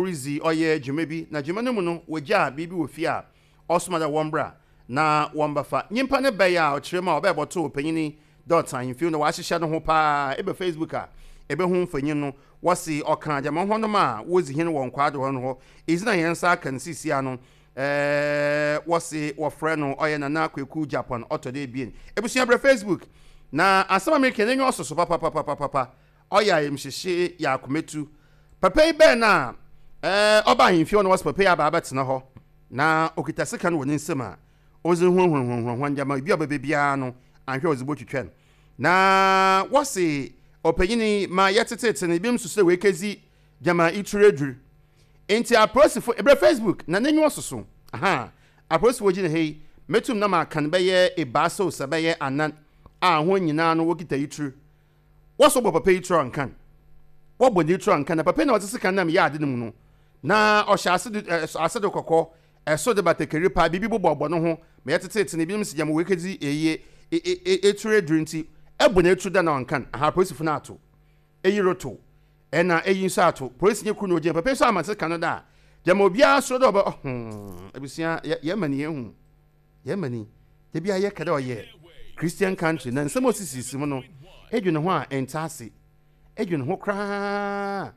Woridzi ɔyɛ dwuma bi, na dwuma no mu no wogyaa biribi wɔ fie a ɔsoma dɛ wɔmbra na wɔmbɛfa. Nyimpa no bae a ɔkyerɛ mu a ɔbae bɔtoo panyin yi dɛ ɔtse ahemfie na ɔahyehyɛ noho paa. Eba Facebook a ebohu mfonyin no. Wɔse ɔkã gyama hɔnom a wodzi hen wɔ Nkwado hɔ no hɔ. Edzin a hɛn nsa aka no seseiara no, wɔse wɔfrɛ no ɔyɛ Nana Kweku Gyapon ɔtɔ do ebien. Ebusua bra Facebook na asɛm a mereka yi n'enyiwa sɔ so papapapapapa. Ɔyɛ ayamhyehye yɛ akomatu. Papa yi bɛn na ɔba ahemfie hɔ na wɔse papa yi aba abɛtsena hɔ na okita sekan wɔ ne nsamu a ɔdze huahua hɔn ndzɛmba, obi a ɔbɛba biara no annhwɛ a ɔdze botwitwa no. Na wɔse ɔpanyin yi ma yɛtsetseetse no, binom susu dɛ oekedzi gyama itur edur. Ntsi aporisifo, ebrɛ Facebook na n'enyiwa soso, aha, aporisifo wogyina ha yi, metum na makan bɛyɛ ebiasa ose bɛyɛ anan a hɔn nyina no wokita itur. Wɔsɔ bɔ papa yi tura nkan. Wɔbɔ ne tura nkan na papa yi na ɔdze sekan nam yɛ ade no mu no, na ɔhyɛ ase do ɛ ase do kɔkɔɔ, ɛso de batakari paa, biribi bobɔbɔ no ho ma yɛtsetseetse no, binom se gyama oekedzi eyi e etur edur ntsi ɛbɔ n'etur dɛ na ɔnkan. Aha apolisifo no ato eyi rotow, ɛna eyi nso ato. Polisinyi kor na ogyina papa yi so ama sekan no dɛ a gyama obiara suro dɛ ɔbɛ ɔhoo ebusua yɛ yɛma no yehu. Yɛn mani, da biara yɛka dɛ ɔyɛ Christian country na nsɛm a osisisisi mu no, edwen ho a ɛnntse ase. Edwen ho koraa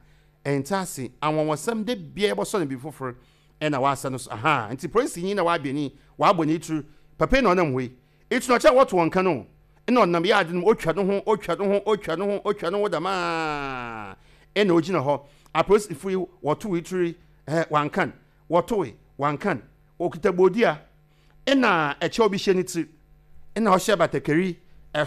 a ɛnntse ase. Anwanwasɛm, da biara yɛbɔsɔ no biribi fofor na ɔasa no so. Ahaa, ntsi polisinyi na ɔabɛn yi, ɔabɔ ne tsir. Papa yi na ɔnam hɔ yi. Etsir no ɔkyerɛ dɛ wɔto wɔn kan o. Nna ɔnam yɛ adze no mu, otwa no ho, otwa no ho, otwa no ho, otwa no ho dɛm ara nna ogyina hɔ. Apolisifo yi wɔtoo etsir yi, ɛɛ, wɔannkan. Wɔtoe, wɔannkan. Okita bodua na kyɛw bi hyɛ ne tsir, nna ɔhyɛ batakari,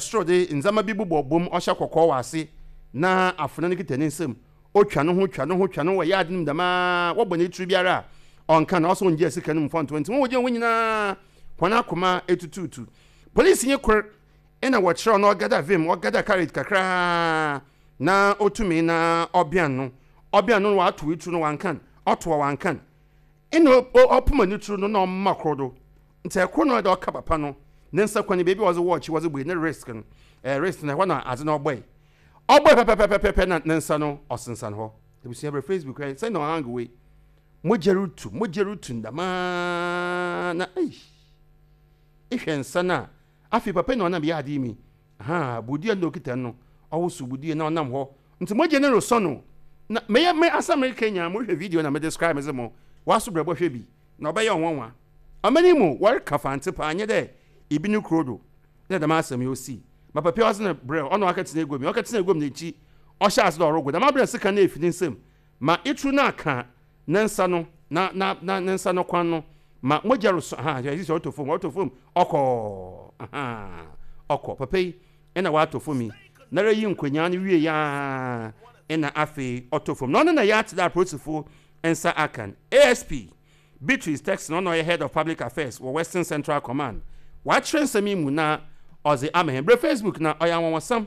sor dze ndzɛmba bi bobɔ bɔ mu, ɔhyɛ kɔkɔɔ wɔ ase, na afona no kitsa ne nsamu. Otwa noho, twa noho, twa noho wɔ yaad no mu dɛm ara, wɔbɔ ne tsir biara a, ɔnnka na ɔsɛ onngyaa sika no mu mfa nnto hɔ. Ntsi hɔn a wogyina hɔ nyina hɔn akoma etutuutu. Polisinyi kor na wɔkyerɛw na ɔgada vim, ɔgada courage kakra na otumii na ɔbean no, ɔbean no na ɔatow etsir no ɔannkan, ɔtow a ɔannkan. Nna ɔpoma ne tsir no na ɔma kor do. Ntsi kor na ɔyɛ dɛ ɔka papa no ne nsa kwan beebi a ɔdze wɔɔkye wɔdze bue ne wrist no, wrist no hɔ na adze no ɔbɔe. Ɔbɔe pɛpɛpɛpɛpɛ na ne nsa no ɔsensan hɔ. Ebusua brɛ Facebook hwɛ sɛ na ɔhang wei. Mogya rutu, mogya rutu no dɛmaa na eish. Ehwɛ nsa no a, afei papa yi na ɔnam yɛ adze yi mi. Ahaa, bodua no na okita no, ɔwosow bodua na ɔnam hɔ. Ntsi mogya no rosɔ no. Na meyɛ me asɛm mereka nyinaa, mohwɛ video na me describe medze mo w'aso brɛ bɔhwɛ bi na ɔbɛyɛ wo nwanwa. Ɔman yi mu wɔreka Fantse paa nnyɛ dɛ ibi no kurow do na dɛm asɛm yi osii. Ma papa yi ɔdze no brɛɛ ɔna ɔakɛtsena egua mu yi, ɔkɛtsena egua mu n'ekyir ɔhyɛɛ ase dɛ ɔrogo dɛm aber na sekan no efi ne nsamu ma itru no akã ne nsa no na na na ne nsa no kwan no ma mogya rosɔ ahaa hwɛ sisi ɔrotɔ famu ɔrotɔ famu ɔkɔ ahaa ɔkɔ papa yi na ɔatɔ famu yi nara yi nkonyaa no wie aa na afei ɔtɔ famu na ɔno na yɛatse dɛ apolisifo nsa aka no ASP Beatrice Texon ɔno ɔyɛ Head of Public Affairs wɔ Western Central Command ɔakyerɛ nsɛm yi mu na ɔdze ama hɛn brɛ Facebook na ɔyɛ anwanwasɛm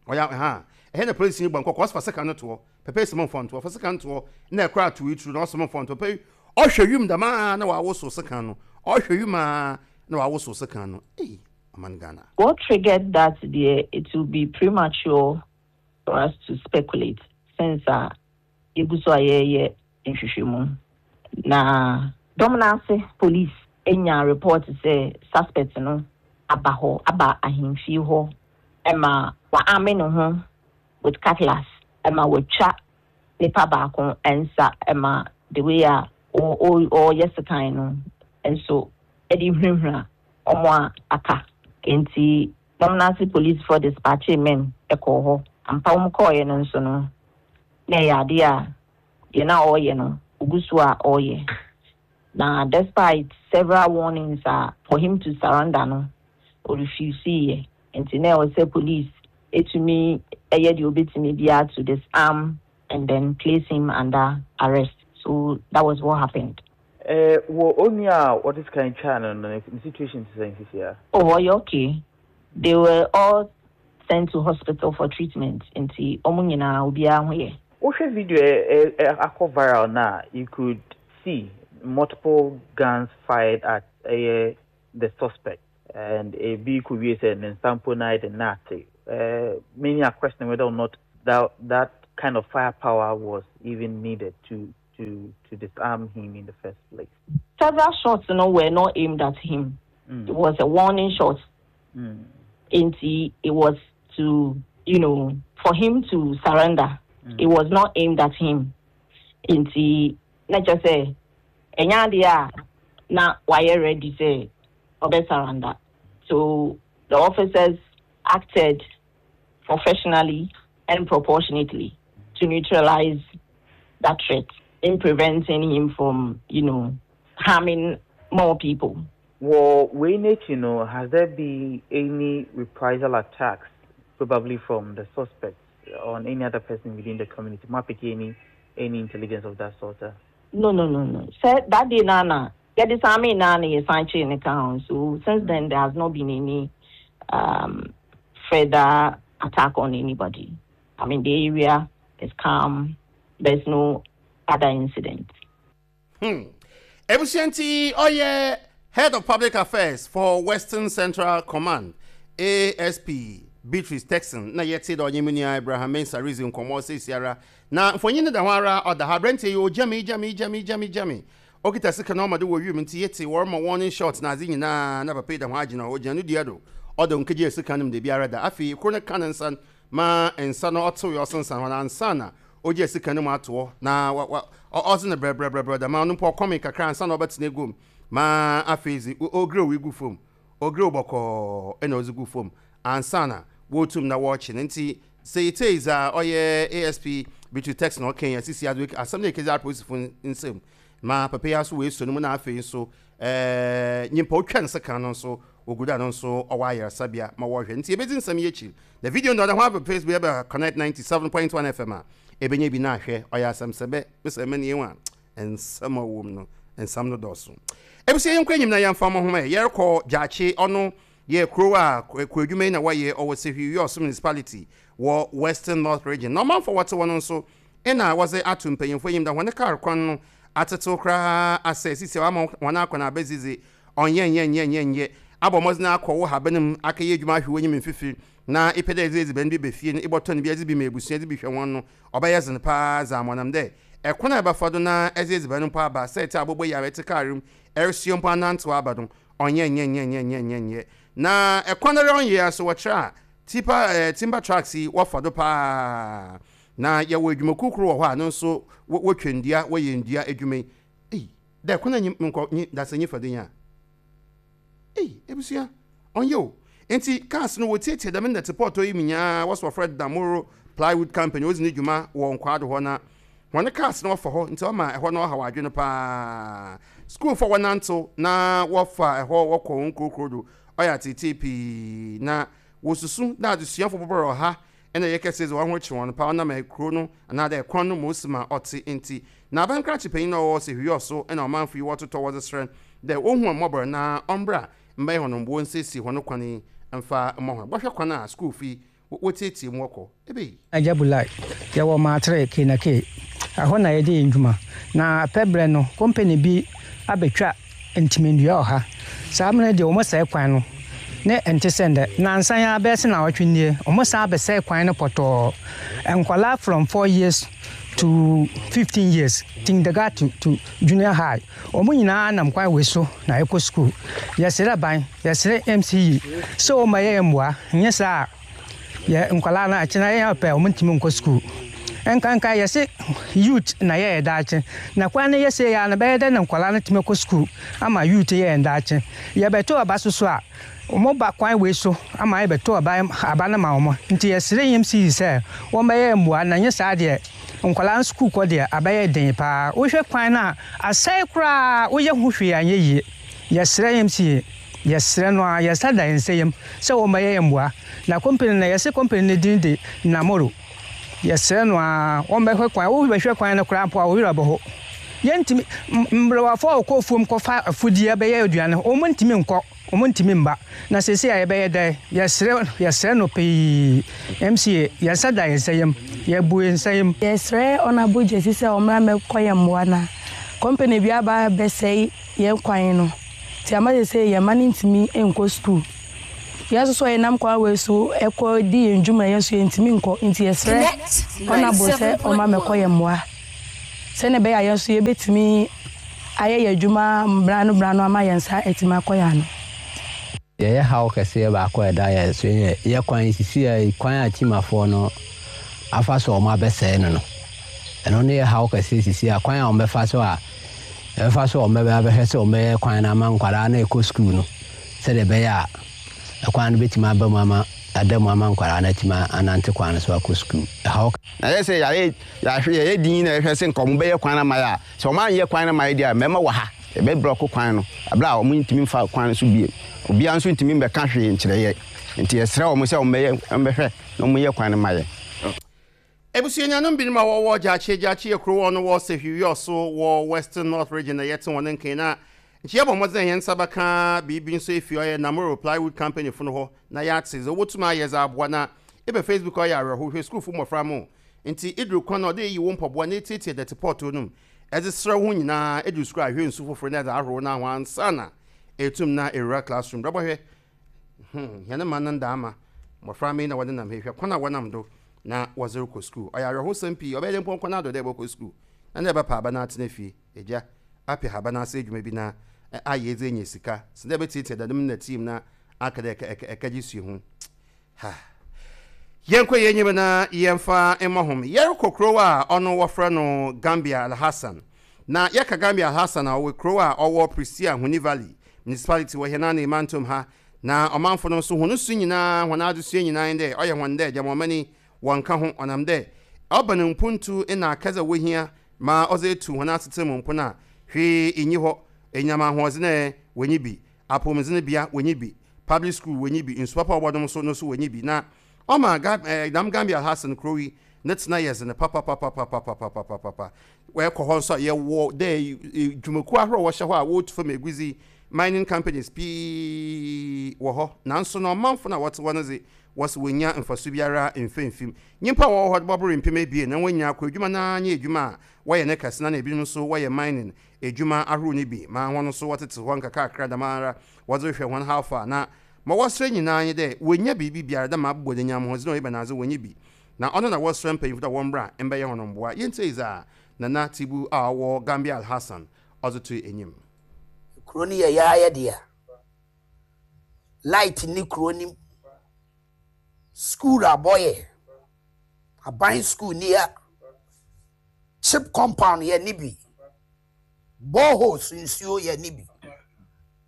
ɔyɛ ahaa ɛhɛ na polisini bɔ nkɔkɔ ɔsfa sekan no toɔ Papa yi se momfa nto, ɔfa sekan toɔ na ɛkora ato eturu na ɔse momfa nto. Papa yi ɔhwɛ wim dɛm ara na wawosow sekan no, ɔhwɛ wim ara na wawosow sekan no. Ei, ɔman Ghana. What triggered that deɛ it will be premature for us to speculate since a yɛgu so a yɛreyɛ nhwehwɛmu. Na dɔm no ase police nyaa report sɛ suspect no aba hɔ, aba ahemfie hɔ ma wa-arme ne ho with cutlass ma watwa nipa baako nsa ma the way a ɔreyɛ sekan no nso de hunahuna wɔn a aka. Nti Domnase policefoɔ dispatchee men kɔɔ hɔ. Ampa wɔn kɔeɛ no nso no na ɛyɛ adeɛ a deɛ na ɔreyɛ no ɔgu so a ɔreyɛ. Na despite several warnings a for him to surrender no ɔrefuseeɛ. Nti na ɛwɔ sɛ police tumi yɛ deɛ ɔbɛtumi biara to disarm and then place him under arrest. So that was what happened. Eh, wɔ onua a wɔde sekan twaa no no, ne situation te sɛn sisi a? Oh, ɔyɛ okay. They were all sent to hospital for treatment, nti wɔn nyinaa obiara ho yɛ. Wohwɛ video a akɔ viral no a, you could see multiple guns fired at ɛyɛ the suspect and ebi kɔwie sɛ ne nsa mpo no ayɛ den na ate. Many are questioning whether or not that, that kind of firepower was even needed to. to to disarm him in the first place. Several shots you know, were not aimed at him. It was a warning shot. Nti it was to, you know, for him to surrender. It was not aimed at him. Nti na kyerɛ sɛ ɛnyɛ adeɛ a na wayɛ ready sɛ ɔbɛ surrender. So the officers acted professionally and proportionately to neutralize that threat in preventing him from, you know, harming more people. Well, wei n'akyi no, has there been any reprisal attacks, probably from the suspects on any other person within the community? Mo apeke any any intelligence of that sort? No. Sɛ that day na na yɛde saa me na na yɛsan kyee ne ka ho. So since then there has not been any further attack on anybody. I mean, the area is calm. There's no other incident. Ebusua nti ɔyɛ Head of Public Affairs for Western Central Command, ASP Beatrice Turkson na yɛtse dɛ ɔnye me nua Abraham Mensah ridzi nkɔmbɔ seseiara. Na mfonyin no da ho ara ɔda ha. Aberantsɛ yi ogyame, gyame, gyame, gyame, gyame. Okitsa sika na ɔma do wɔ wimu ntsi yɛtse wɔrema warning shot na adze nyina na papa yi da ho agyina hɔ. Ogyina no dua do. Ɔda onnkegyaa sika no mu dabiara da. Afei kor no ka ne nsa ma nsa no ɔtsewee ɔsensan hɔ no ansaana ogyaa sika no mu ato hɔ na wa wa ɔdze no brɛbrɛbrɛbrɛ dɛm a ɔno mpo ɔkɔmee kakra ansaana ɔbɛtsena egua mu ma afei dze ogirew gu famu, ogirew bɔkɔɔ na ɔdze gu famu ansaana wotum na wɔrekye no. Ntsi sɛ yetsie dza ɔyɛ ASP Beatrice Tex na ɔkã yi a, sisi adze asɛm no ekedzi apolisifo nsamu ma papa yi aso woesuo no mu na afei so nyimpa otwa ne sekan no so wogu do a no so ɔwɔ ayarsabea ma wɔhwɛ. Ntsi yebedzi nsɛm yi ekyir na video no ɔda ho aba Facebook yɛba Connect 97.1 FM a ebenya bi na ahwɛ. Ɔyɛ asɛmsɛbɛ mesɛ mɛn yɛn a nsɛm a ɔwɔ mu no nsɛm no dɔɔso. Ebusua yɛnkɔ enyim na yɛmfa mo nhoma ɛ. Yɛrokɔ Gyakye ɔno yɛ kurow a kuadwuma yi na wɔyɛ ɔwɔ Sehwi Wiawso Municipality wɔ Western North Region. Na ɔmanfo a wɔtse hɔ no nso nna wɔdze ato mpanyimfo enyim dɛ hɔn kaar kwan no atsetsew koraa asɛɛ sisi a wɔama hɔn akwan abedzi dze ɔnnyɛ nnyɛ nnyɛ nnyɛ nnyɛ. Abɔ mbɔdzen akɔ wo haban mu akɛyɛ edwuma ahwe w'enyim mfifir na epɛ dɛ edze edziban bi ba fie no ebɔtɔn bi edze bi ma ebusua edze bi hwɛ hɔn no ɔbɛyɛ dzen paa dze ama ɔnam dɛ kwan a ebɛfa do na edze edziban mpo aba sɛ etse aboboyaa etse kaar mu eresoa mpo anantsew aba no ɔnnyɛ nnyɛ nnyɛ nnyɛ nnyɛ nnyɛ nnyɛ na kwan ara ɔnnyɛ a so wɔkyerɛ a tipa eh timber trucks yi wɔfa do paa Na yɛwɔ edwumakuw kor wɔ hɔ a no so wotwa ndua, wɔyɛ ndua edwuma yi. Ei, dɛ kwan a nyim nkɔ nye dasanyi fa do yi a. Ei, ebusua, ɔnnyɛ o. Ntsi cars no wotsiatsia dɛm ndɛtse pɔɔtɔ yi mu nyinaa, wɔse wɔfrɛ no Damoro Plywood Company, odzi no dwuma wɔ Nkwado hɔ na hɔn cars no wɔfa hɔ ntsi ɔma hɔ no ɔhaw adwen paa. Skuulfo a wɔnantsew na wɔfa hɔ wɔkɔ hɔn nkurokurow do ɔyɛ atseetsee pii na wosusu dɛ adzesuafo bɔbɔr ɔha Nna yɛkɛse dze hɔnho kye hɔn paa ɔnam kurow no anaadɛ kwan no mu osi ma ɔtse ntsi. Na aban krakye panyin a ɔwɔ Sehwi so na ɔmanfo yi wɔtotɔ wɔdze serɛ dɛ wonhu hɔn mbɔbɔr na ɔmbra mbɛyɛ hɔn mboa onsiesie hɔn kwan yi mfa mma hɔn. Bɔhwɛ kwan a skuulfo yi wotsietsie mu wɔkɔ. Ebei! Agya Bulai, Yɛwɔ Maatere, K na K. Ɛhɔ na yɛde yɛn dwuma. Na pɛ berɛ no, kompani bi abɛtwa ntimendua wɔ ha. Saa mmerɛ no deɛ wɔsɛe kwan no, ne ɛnte sɛ nnɛ. Nnansa yi ara bɛyɛ sɛ nnawɔtwe nie, wɔsan abɛsɛe kwan no pɔtɔɔ. Nkwadaa from 4 years to 15 years, kindergarten to junior high, wɔn nyinaa nam kwan wei so na ɛkɔ sukuu. Yɛsrɛ aban, yɛsrɛ MCE sɛ wɔmmɛyɛ yɛn mmoa, nyɛ saa a, Yɛ nkwadaa no akyena yɛn pɛ wɔn ntumi nkɔ sukuu. Nkanka yɛse youth na yɛyɛ daakye. Na kwan no yɛ sei ara no bɛyɛ dɛn na nkwadaa no atumi akɔ sukuu ama youth yɛ yɛn daakye. Yɛbɛto aba so so a, wɔn ba kwan wei so ama yɛbɛto aba aba no ma wɔn. Nti yɛsrɛ EMCC sɛ wɔn bɛyɛ mmoa na nyɛ saa deɛ nkwadaa no sukuu kɔ deɛ abɛyɛ den paa. Wohwɛ kwan no a asɛe koraa woyɛ ho hwee anyɛ yie. Yɛsrɛ EMCC. Yɛsrɛ no ara, yɛn nsa da yɛn nsa yam sɛ wɔmmɛyɛ yɛn mmoa. Na kompene no, yɛse kompene no din de Namoro. Yɛsrɛ no ara, wɔmmɛhwɛ kwan. Wobɛhwɛ kwan no koraa mpo a, wo werɛ bɛho. Yɛntumi, mmerewafo a wɔkɔ afuom kɔfa afudeɛ bɛyɛ aduane, wɔntumi nkɔ, wɔntumi mma. Na seesei a yɛbɛyɛ dɛn? Yɛsrɛ, yɛsrɛ no pii. MCA, yɛn nsa da yɛn nsa yam. Yɛabu yɛn nsa yam. Yɛsrɛ Honourable Gyasi sɛ ɔmmra mmɛkɔ yɛn mmoa na company bi aba abɛsɛe yɛn kwan no. Nti ama seesei yɛn mma no ntumi nkɔ sukuu. Yɛn nso so a yɛnam kwan wei so kɔ di yɛn dwuma yɛn nso yɛntumi nkɔ. Nti yɛsrɛ Honourable sɛ ɔmma mmɛkɔ yɛn mmoa. Sɛnea ɛbɛyɛ a yɛn nso yɛbɛtumi ayɛ yɛn adwuma berɛ ano berɛ ano ama yɛn nsa atumi akɔ yɛn ano. Yɛyɛ haw kɛseɛ baako a ɛda yɛn so yɛ yɛ kwan yi sisi a yi kwan a Timafoɔ no afa so a wɔn abɛsɛe no no ɛno ne yɛ haw kɛseɛ sisi a kwan a wɔn bɛfa so a ɛbɛfa so a wɔn bɛbɛ abɛhwɛ sɛ wɔn bɛyɛ kwan no ama nkwadaa no ɛkɔ sukuu no sɛdeɛ ɛbɛyɛ a ɛkwan no bɛtumi aba mu ama ada mu ama nkwadaa no atumi anante kwan no so akɔ sukuu ɛhaw Na yɛ sɛ yɛayɛ yɛahwɛ yɛyɛ din na yɛhwɛ sɛ nka wɔn bɛyɛ kwan no ama yɛ a sɛ wɔn anyɛ kwan no ama yɛ deɛ a mmarima wɔ ha yɛbɛ brɔko kwan no abere a wɔn ntumi nfa kwan no so biem obiara nso ntumi mbɛka hwee nkyerɛ yɛ nti yɛsrɛ wɔn sɛ wɔn bɛyɛ wɔn bɛhwɛ na wɔn yɛ kwan no ma yɛ. Ebusua nuanom binom a wɔwɔ Gyakye Gyakye yɛ kurow a ɔno wɔ Sehwi-Wiawso wɔ Western North Region na yɛtse hɔn nkan na nkyɛ yɛbɔ mbɔdzen dɛ hɛn nsa bɛka biribi nso efi ɔyɛ Namoro Plywood Company fo no hɔ na yɛatse dza wobotum ayɛ dze aboa na ebɛ Facebook a ɔyɛ awerɛhow hwɛ skuulfo mbofra mo ntsi idur kwan na ɔdɛ iyi wo mpɔboa na etsiatsia dɛtse pɔɔtoo no mu edze serɛ woho nyina edur skuul a ahwɛ nsu fofor na edze ahorow no ho ansaana etum na ewura classroom brɛbɔhwɛ Hmm, hɛn man no ndaama, mboframba yi na wɔnenam ha yi, hwɛ kwan a wɔnam do na wɔdze rokɔ skuul. Ɔyɛ awerɛhowsɛm pii, ɔbɛyɛ dɛ mpo ɔnnkɔ n'ado dɛ ebɔkɔ skuul na ndɛ ebɛpa aba na atsena fie, egya, apɛ haban ase edwuma bi na ayɛ edze enya sika, sen dɛ ebɛtsiatsia dɛm nnɛtse yi mu na aka dɛ ekɛgye suahu. Ha. Yɛnkɔ yɛn enyim na yɛmfa mmɔ hom. Yɛrokɔ kurow a ɔno wɔfrɛ no Gambia Alhassan. Na yɛka Gambia Alhassan a, ɔwɔ kurow a ɔwɔ Prestea Huni Valley Municipality wɔ hɛn anee mantam ha. Na ɔmanfo no so hɔn su nyina, hɔn adzesua nyina nye dɛ ɔyɛ hɔn dɛ gyama ɔman yi wɔnnka ho, ɔnam dɛ ɔba no mpontu na akɛdze a wohia ma ɔdze etu hɔn asetsena mu mpon a, hwee nnyi hɔ. Enyinam ahoɔdzen ɛ, wonnyi bi. Apɔwmudzen bea, wonnyi bi. Public school wonnyi bi, nsu papa a wɔbɔnom so no so wonnyi bi, na ɔma Ga eh, dɛm Gambia ha sen kurow yi ne tsena yɛ dzen papapapapapapapapa. Ɛkɔ hɔ nso a, yɛwɔ dɛ dwumakuw ahorow a wɔhyɛ hɔ a wotu famu egudzi, mining companies, pii wɔ hɔ, naaso no ɔmanfo no a wɔtse hɔ no dze, wɔse wonnya mfaso biara mmfa mmfi mu. Nyimpa a wɔwɔ hɔ no bɔbor mpem ebien na hɔn nyina kɔ edwuma no ara nye edwuma a wɔyɛ no kɛse na na binom so wɔyɛ mining edwuma ahorow no bi ma hɔn so wɔtsetse hɔ nkakrankra dɛmara wɔdze rohwɛ hɔn how far na ma wɔserɛ nyina nye dɛ wonnya biribi biara dɛ ma abobɔ n'enyiam hɔn dze na ebɛnadze wonnyi bi na ɔno na wɔserɛ mpanyimfo dɛ wɔmbra mbɛyɛ hɔn mboa. Yentsie dza Nana Tsibu a ɔwɔ Gambia Alhassan ɔdze too enyim. Kuro no yɛ yaa yɛ dea. Light nni kuro no mu. School abɔ yɛ. Aban school ni ha. Chip compound yɛ ni bi. Boreholes nsuo yɛ ni bi.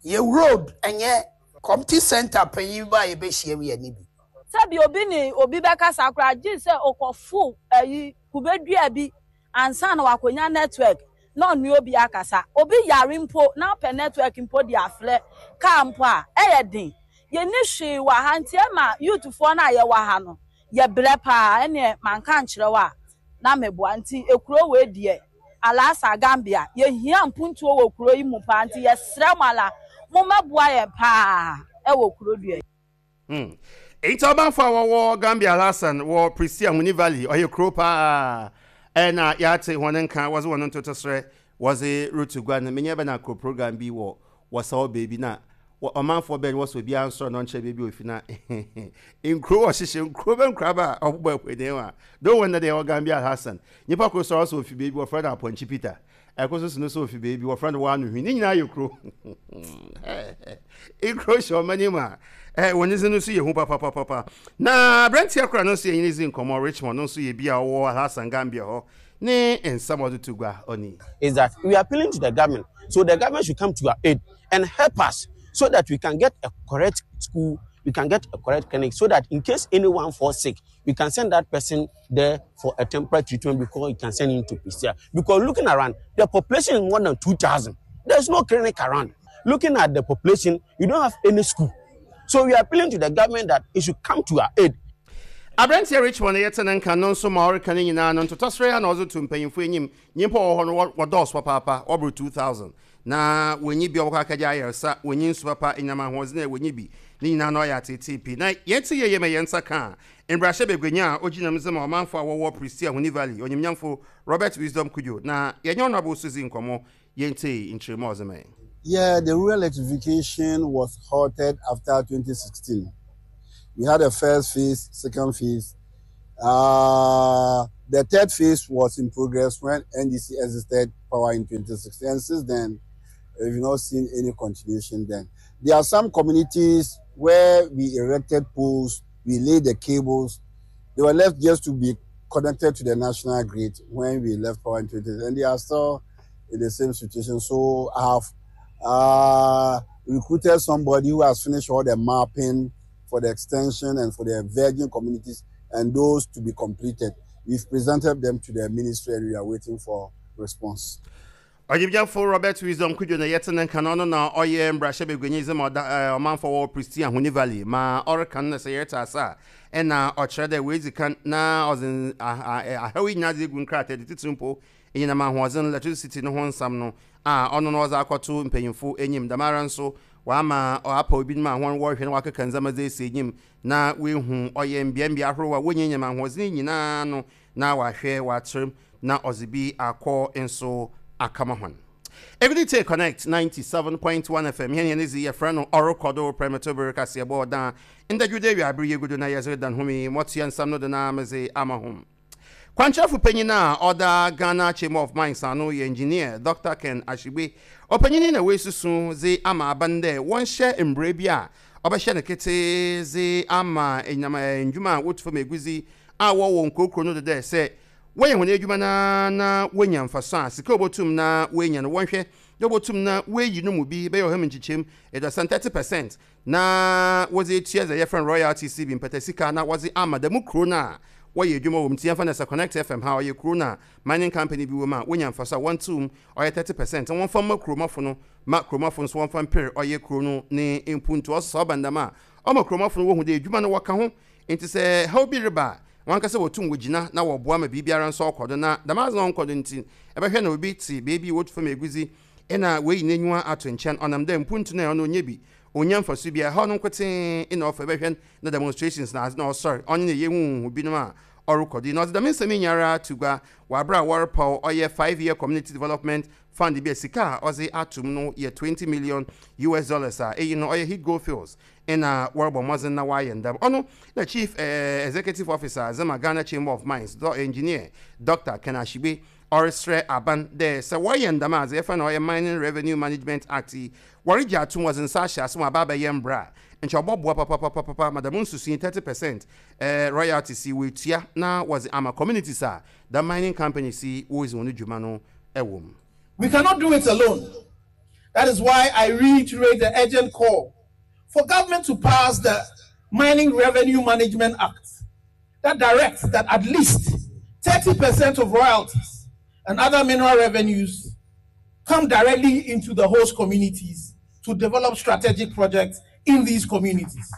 Yɛ road ɛnyɛ. Community center panyin ba a yɛbɛhyia mu yɛ ni bi. Sɛbi obi ne obi bɛkasa koraa gye sɛ ɔkɔfo ayi kube dua bi ansa na wakonya network na ɔne obi akasa. Obi yare mpo na ɔpɛ network mpo de afrɛ car mpo a, ɛyɛ den. Yɛnni hwee wɔ ha nti ɛma youth foɔ no a yɛwɔ ha no yɛbrɛ paa. Ɛneɛ manka ankyerɛ wo a na meboa. Nti ekuro wei deɛ Alasa, Gambia, yɛhia mpuntuo wɔ kuro yi mu paa nti yɛsrɛ mo ala mommɛboa yɛn paa wɔ kuro dua yi. Hmm. Enti ɔmanfo a wɔwɔ Gambia Alhassan wɔ Prestea Huni Valley, ɔyɛ kurow paa na yɛatse hɔn nka wɔdze hɔn ntotɔserɛ wɔdze roto gua no. Menye bɛn akɔ program bi wɔ wɔsaw beebi na ɔmanfoɔ bɛn wɔsɛ obiara nsɔr na ɔnkyerɛ beebi a ofi na nkurow ɔhyehyɛ nkurow bɛ nkuraba a ɔbobɔ ahwene a do wɔn na deɛ ɛwɔ Gambia Alhassan. Nyimpa kor so a ɔsɛ ofi beebi wɔfrɛ no Apɔnkye Peter. Ɛkor so so no so ofi beebi wɔfrɛ no Wano Hwi. Ne nyinaa yɛ kuro. Nkuro hyɛ ɔman yi mu a wɔn dze no so yɛ hu papapapapa. Na aberanteɛ kor a no nso yɛnye no dzi nkɔmmɔ, Richmond, no nso yɛ bi a ɔwɔ Alhassan Gambia hɔ ne nsɛm a ɔdze to gua ɔne. Is that we are appealing to the government so the government should come to our aid and help us so that we can get a correct school, we can get a correct clinic so that in case anyone falls sick, we can send that person there for a temporary treatment before you can send him to Prestea. Because looking around, the population is more than 2,000. There's no clinic around. Looking at the population, you don't have any school. So we are appealing to the government that it should come to our aid. Aberanteɛ Richmond yɛte ne nka no nso ma ɔreka ne nyinaa no ntotɔserɛ a na ɔdze to mpanyimfo enyim. Nyimpa a wɔwɔ hɔ no wɔdɔɔso papaapa, wɔbor 2,000. Na wonnyi bi a wɔbɔkɔ akɛgye ayarsa, wonnyi nsu papa, enyinam ahoɔdzen a wonnyi bi. Ne nyinaa no ɔyɛ atseetsee pii. Na yɛtse yie ma hɛn nsa kã mbrahyɛbaguanyi a ogyina mu dze ma ɔmanfo a wɔwɔ Prestea Huni Valley, Onyimnyamfo Robert Wisdom Cudjoe, na yɛnye Honourable so dzii nkɔmbɔ, yentsie nkyerɛmu a ɔdze mae. Yeah, the rural electrification was halted after 2016. We had a first phase, second phase. Uh, The third phase was in progress when NDC exited power in 2016, and since then, we've not seen any continuation then. There are some communities where we erected poles, we laid the cables. They were left just to be connected to the national grid when we left power in 2016, and they are still in the same situation. So I have recruited somebody who has finished all the mapping for the extension and for the virgin communities and those to be completed. We've presented them to the ministry and we are waiting for response. Ɔgyimgyɛmfo Robert Wisdom Kudjo na yɛtse ne nka no, ɔno na ɔyɛ mbrahyɛbaguanyi dze ma ɔda ɔmanfo a wɔwɔ Prestea Huni Valley. Ma ɔreka no na sɛ yɛretse ase a, nna ɔkyerɛ dɛ oedzi kan na ɔdze ahaw yi nyina dze egu nkrataa do, tsitsir mpo enyinam ahoɔdzen, electricity, no ho nsɛm no a ɔno na ɔdze akɔto mpanyimfo enyim. Dɛmara so ɔama ɔapaw binom a hɔn wɔrohwɛ na wɔakeka ndzɛmba dze esi enyim na oehu ɔyɛ mbeambea ahorow a wonya enyinam ahoɔdzen yi nyina no na ɔahwɛ ɔatser mu na ɔdze bi akɔ nso akama hɔn. Egunite Connect 97.1 FM hɛn hɛn dze yɛfrɛ no Ɔrokɔ do Prɛmtober Kaseɛbɔ Ɔda ndɛ Dwowda ewiaber yi egu do na yɛdze redan hom yi, mɔtoa nsɛm no do na medze ama hom. Kwankyerɛfo panyin a ɔda Ghana Chamber of Mines ano yɛ Engineer Dɔkta Ken Ashigbe. Ɔpanyin yi na oesusu dze ama aban dɛ wɔnhyɛ mbra bi a ɔbɛhyɛ no ketsee dze ama enyinam ndwuma a wotu famu egudzi a wɔwɔ nkurokurow no do dɛ sɛ wɔyɛ hɔn edwuma no ara na wonya mfaso a, sika a wobotum na woenya no wɔnhwɛ dɛ wobotum na woeyi no mu bi bɛyɛ ɔha mu nkyekyɛmu eduasa, 30%, na wɔdze etua dza yɛfrɛ no royalties yi bi, mpatasika, na wɔdze ama dɛm kurow no a wɔyɛ edwuma wɔ mu. Ntsi yɛmfa no sɛ Connect FM ha, ɔyɛ kurow no a mining company bi wɔ mu a wonya mfaso a wɔntsew mu, ɔyɛ 30%, na wɔmfa mma kurowmafo no, ma kurowmafo no so wɔmfa mper ɔyɛ kurow no ne mpontu. Ɔso sɛ ɔba no dɛm a, ɔma kurowmafo no wohu dɛ edwuma no wɔka ho, ntsi sɛ haw bi reba a, hɔnankasa wotum wogyina na wɔboa ma biribiara so ɔkɔ do. Na dɛm adze no a ɔnnkɔ do ntsi, ebɛhwɛ na obi tse beebi wotu famu egudzi nna oeyi n'enyiwa ato nkyɛn, ɔnam dɛ mpontu no a ɔno onnya bi, onnya mfaso biara, haw no nkotsee na ɔfa, ebɛhwɛ no na demonstrations na adze na ɔsoɛr, ɔnye ne yehuhuhu binom a ɔrokɔ do yi. Na ɔdze dɛm nsɛm yi nyinara to gua wɔ aber a wɔrepaw ɔyɛ Five-Year Community Development Fund bi a sika a ɔdze ato mu no yɛ 20 million US dollars a iyi no ɔyɛ Heath Goldfields na wɔrobɔ mbɔdzen na wɔayɛ no dɛm. Ɔno na Chief Executive Officer dze ma Ghana Chamber of Mines, Engineer Dɔkta Ken Ashigbe, Ɔreserɛ aban dɛ sɛ wɔyɛ no dɛm a, dza yɛfrɛ no ɔyɛ Mining Revenue Management Act yi, wɔregye ato mu, wɔdze nsa ahyɛ ase ma ɔaba abɛyɛ mbra a, nkyɛ ɔbɔboa papapapapa ma dɛm nsusui 30 percent royalties yi woetua na wɔdze ama communities a dɛm mining companies yi woridzi hɔn dwuma no wɔ mu. We cannot do it alone. That is why I reiterate the urgent call for government to pass the Mining Revenue Management Act that directs that at least 30% of royalties and other mineral revenues come directly into the host communities to develop strategic projects in these communities.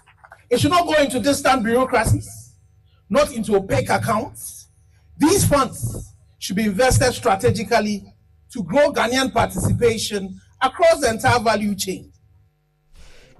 It should not go into distant bureaucracies, not into opaque accounts. These funds should be invested strategically to grow Ghanaian participation across the entire value chain.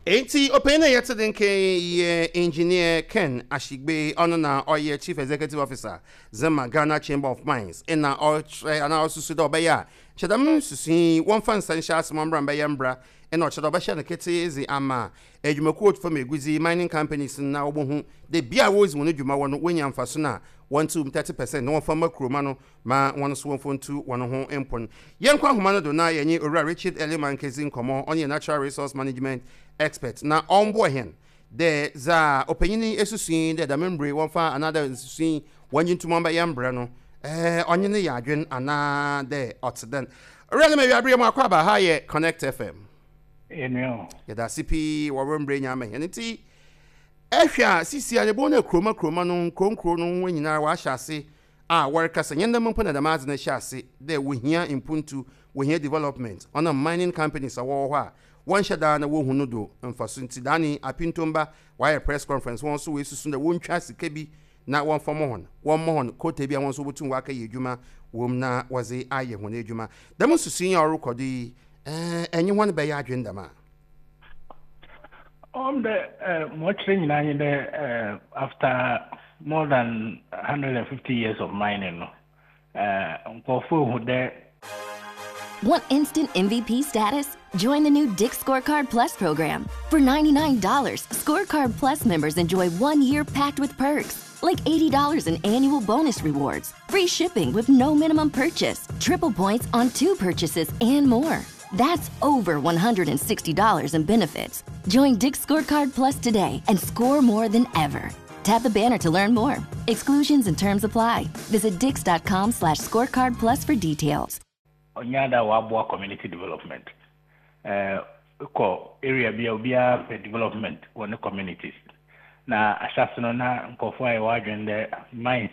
Enti ɔpanyin a yɛte ne nka yi yɛ Engineer Ken Ashigbe, ɔno na ɔyɛ Chief Executive Officer dze ma Ghana Chamber of Mines na ɔrekyerɛ anaa ɔresusu dɛ ɔbɛyɛ a nkyɛ dɛm nsusui yi wɔmfa nsa nhyɛ ase ma ɔmbra mbɛyɛ mbra na ɔkyerɛ dɛ ɔbɛhyɛ no ketee dze ama edwumakuw otu famu egudzi, mining companies, no na wobohu dɛ bea a woridzi hɔn dwuma wɔ no wonya mfaso no a wɔntsew mu 30 percent na wɔmfa mma kurowma no ma hɔn so wɔmfa ntu hɔn ho mpon. Yɛnkɔ ahoma no do na yɛnye Owura Richard Elliman nkedzi nkɔmbɔ, ɔno yɛ Natural Resource Management Expert, na ɔmboa hɛn dɛ dza ɔpanyin yi esusu yi dɛ dɛm mber yi wɔmfa anaadɛ nsusui yi wɔngye nto mu ɔmbɛyɛ mbra no, ɔnye no yɛ adwen anaa dɛ ɔtse dɛn. Owura Elliman, ewiaber yi mu akwaaba, ha yɛ Connect FM. Enua o. Yɛda ase pii wɔ wo mber enya ama hɛn ntsi ehwɛ a sisi a yebohu dɛ kuroma kuroma no nkurow nkurow no ho nyinara wɔahyɛ ase a wɔrekasa, nnyɛ ndɛ mpo na dɛm adze no hyɛ ase dɛ wohia mpontu, wohia development, ɔnam mining companies a wɔwɔ hɔ a wɔnnhyɛ da na wohu no do mfaso ntsi. Daane Apintomba wɔayɛ press conference hɔn so woesusu dɛ wontwa sika bi na wɔmfa mbɔ hɔn, wɔmma hɔn quota bi a hɔn so wobotum wɔakɛyɛ edwuma wɔ mu na wɔdze ayɛ hɔn edwuma. Dɛm nsusui yi a ɔrokɔ do yi, enye hɔn bɛyɛ adwen dɛm a? Ɔwɔ dɛ ma ɔkyerɛ nyinaa nye dɛ after more than 150 years of mining no, nkorɔfo ehu dɛ. Want instant MVP status? Join the new Dick's Scorecard Plus program. For $99, Scorecard Plus members enjoy one year packed with perks. like $80 in annual bonus rewards, free shipping with no minimum purchase, triple points on two purchases, and more. That's over $160 in benefits. Join Dick's Scorecard Plus today and score more than ever. Tap the banner to learn more. Exclusions and terms apply. Visit dix.com slash scorecard plus for details. Ɔnnyɛ ade a ɔaboa community development. Ekɔ area bi a obiara pɛ development wɔ ne communities. Na ahyɛse no na nkorɔfo ayɛ hɔn adwen dɛ mines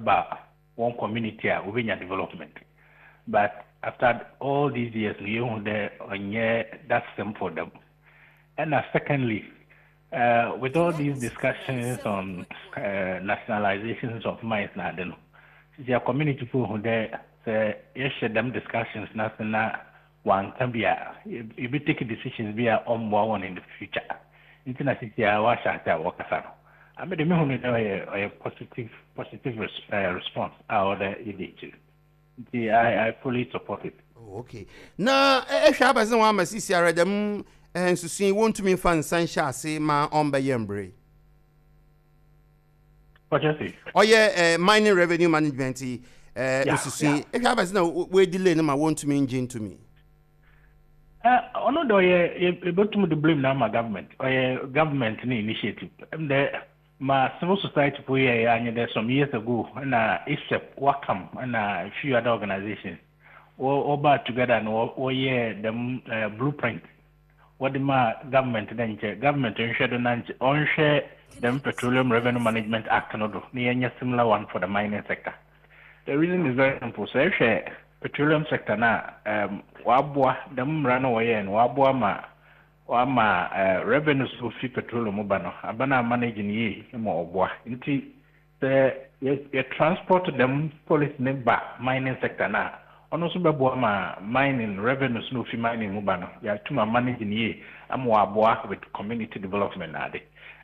ba hɔn community a wobenya development. But after all these years no yehu dɛ ɔnnyɛ that simple dɛm. Ɛna secondly, with all these discussions on nationalizations of mines na ade no, sisi a community fo hu dɛ sɛ yɛhyɛ dɛm discussions no ase na wɔannka bi a, yebe take decisions bi a ɔmboa hɔn in the future. Ntsi na sisi a wɔahyɛ ase a wɔrekasa no. Ame de mehu no dɛ ɔyɛ ɔyɛ positive positive res response a ɔwɔ dɛ yɛdi ekyir. Nti I I fully support it. Oh, okay. Na ehwɛ abɛdze na wɔama sisiara dɛm nsusui yi wonntumi mfa nsa nhyɛ ase ma ɔmmbɛyɛ mber yi. Ɔkyerɛ se? Ɔyɛ mining revenue management yi nsusui yi. Ehwɛ abɛdze na woedelay no ma wonntumi nngye nnto Ɔno de ɔyɛ yɛbɛtum de blame no ama government. Ɔyɛ government ne initiative. Ɛm dɛ Ma civil society fo yɛe ara nye dɛ some years ago nna ASEP, WACAM na a few other organisations wɔbaa together na wɔyɛɛ dɛm blueprint wɔdze maa government dɛ nkyɛ government nhwɛ do na nkyɛ ɔnhwɛ dɛm Petroleum Revenue Management Act no do na yɛnyɛ similar one for the mining sector. The reason is very simple, sɛ ehwɛ petroleum sector no a, wɔaboa dɛm mbra no wɔyɛe no wɔaboa ma Ɔama revenues a ofi petroleum mu ba no, aban a manage no yie ma ɔboa. Ntsi sɛ yɛ transport dɛm policy no ba mining sector no a, ɔno so bɛboa ma mining revenues no a ofi mining mu ba no, yɛatum a manage no yie ama ɔaboa with community development na ade.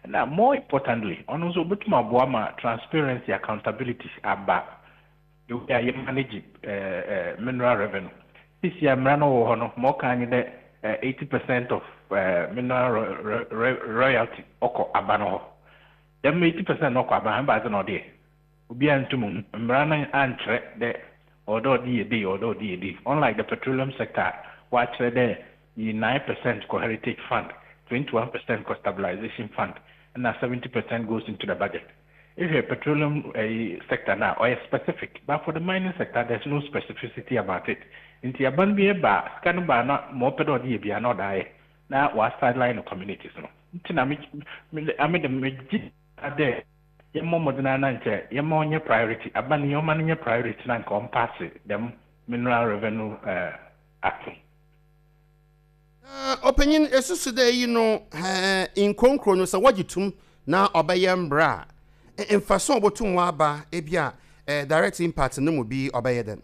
Na more importantly, ɔno so obotum aboa ma transparency, accountability aba The way a yɛ manage mineral revenue. Sisi a mmara no wɔ hɔ no, ma ɔka nye dɛ 80% of mineral royalty ɔkɔ aba no hɔ. Dɛm 80% no ɔkɔ aba hɔ, ebɛnadze na ɔde yɛ? Obiara nntum nnhu. Mbra no annkyerɛ dɛ ɔwɔ dɛ ɔde yɛ dei, ɔwɔ dɛ ɔde yɛ dei. Unlike the petroleum sector a wɔakyerɛ dɛ yi 9% kɔ heritage fund, 21% kɔ stabilisation fund, na 70% goes into the budget. Ehwɛ petroleum ɛyi sector no a, ɔyɛ specific but for the mining sector there's no specificity about it. Nti aban bi ba a, sika no ba a na ma ɔpɛ dɛ ɔde yɛ biara na ɔde ayɛ na wa sideline no communities no. Nti na me me ame de megye dɛ yɛmmɔ mmɔden ara na nkyɛ yɛmma ɔnyɛ priority, aban yi ɔmma no nyɛ priority na nka ɔmpaase dɛm mineral revenue act no. Na ɔpanyin, esusu dɛ iyi no hɛn nkurow nkurow no sɛ wɔgye to mu na ɔbɛyɛ mbra a, mfaso a obotum ɔaba, bi a direct impact no mu bi ɔbɛyɛ dɛn?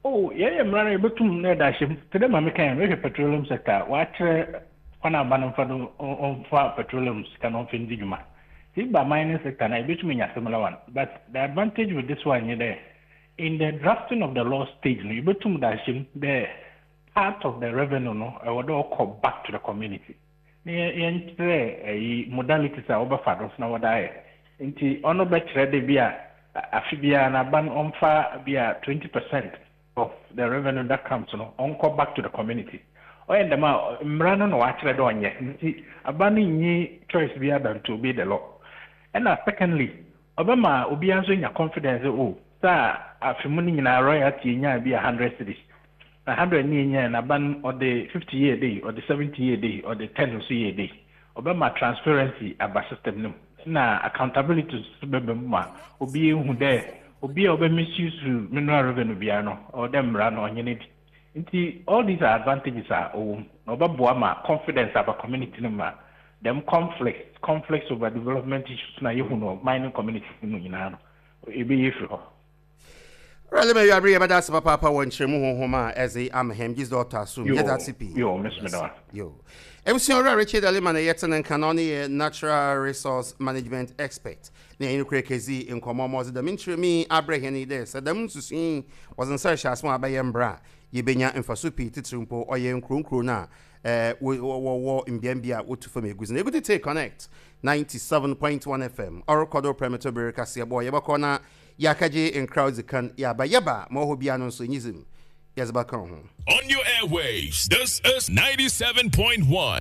Oh, yɛyɛ mbra no a yebotum na yɛdze ahyɛ mu. Tse dɛ ma mekãe no, ehwɛ petroleum sector a, wɔakyerɛ kwan a aban mfa do ɔmfa petroleum sika no ɔmfa ndzi dwuma. Ntsi eba mining sector no a, yebotum enya similar one. But the advantage with this one nye dɛ, in the drafting of the law stage no, yebotum dze ahyɛ mu dɛ Part of the revenue no ɛwɔ dɛ ɔkɔ back to the community na yɛnkyerɛ ɛyi modalities a wɔbɛfa do na wɔde ayɛ. Nti ɔno bɛkyerɛ dɛ bi a afe biara no aban ɔmfa bi a 20% of the revenue that comes no ɔnkɔ back to the community. Ɔyɛ dɛm a mmara no na wɔakyerɛ dɛ ɔnyɛ nti aban no nnyi choice biara than to obey the law. Ɛna secondly ɔbɛma obiara nso anya confidence dɛ oh saa afe mu no nyinaa royalty yenyaa bi a hundred cedis Na hundred no yɛnyae no aba no ɔde fifty yɛɛ dei, ɔde seventy yɛɛ dei, ɔde ten nso yɛɛ dei. Ɔbɛma transparency aba system no mu na accountability nso bɛba mu ma obi ehu dɛ obi a ɔbɛ misuse mineral revenue biara no ɔwɔ dɛ mbra no ɔnye no di. Ntsi all these are advantages a ɔwɔ mu na ɔbɛboa ma confidence aba community no mu ma dɛm conflicts conflicts over development issues no a yehu no wɔ mining community no mu nyinaa no ebeyi efir hɔ. Awurade ma awiabere yɛbɛda ase papaapa wɔ nkyerɛmu honhom a ɛdze ama hɛn gyedzi dɛ ɔtɔ asom. Yo, Yɛda ase pii. yo, me so meda wo ase. Yo. Ebusua Owura Richard Alima na yɛtse ne nka na ɔno yɛ Natural Resource Management Expert na yɛnye no kura kedzi nkɔmbɔ ma ɔdze dɛm nkyerɛmu yi abrɛ hɛn yi dɛ sɛ dɛm nsusui yi wɔdze nsa rehyɛ ase ma ɔabɛyɛ mbra a, yebenya mfaso pii tsitsir mpo ɔyɛ nkurow nkurow no a wɔwɔ mbeambea a wotu famu egudzi no. Egudzi tse Connect 97.1 FM ɔrokɔ do prɛmto ber kaseɛbɔ yɛbɔkɔ na yɛakɛgye nkra odzi kan yɛaba yɛba ma ɔwɔ hɔ biara no nso enyidzi mu yɛdze bɛka ho. On your airwaves, this is 97.1.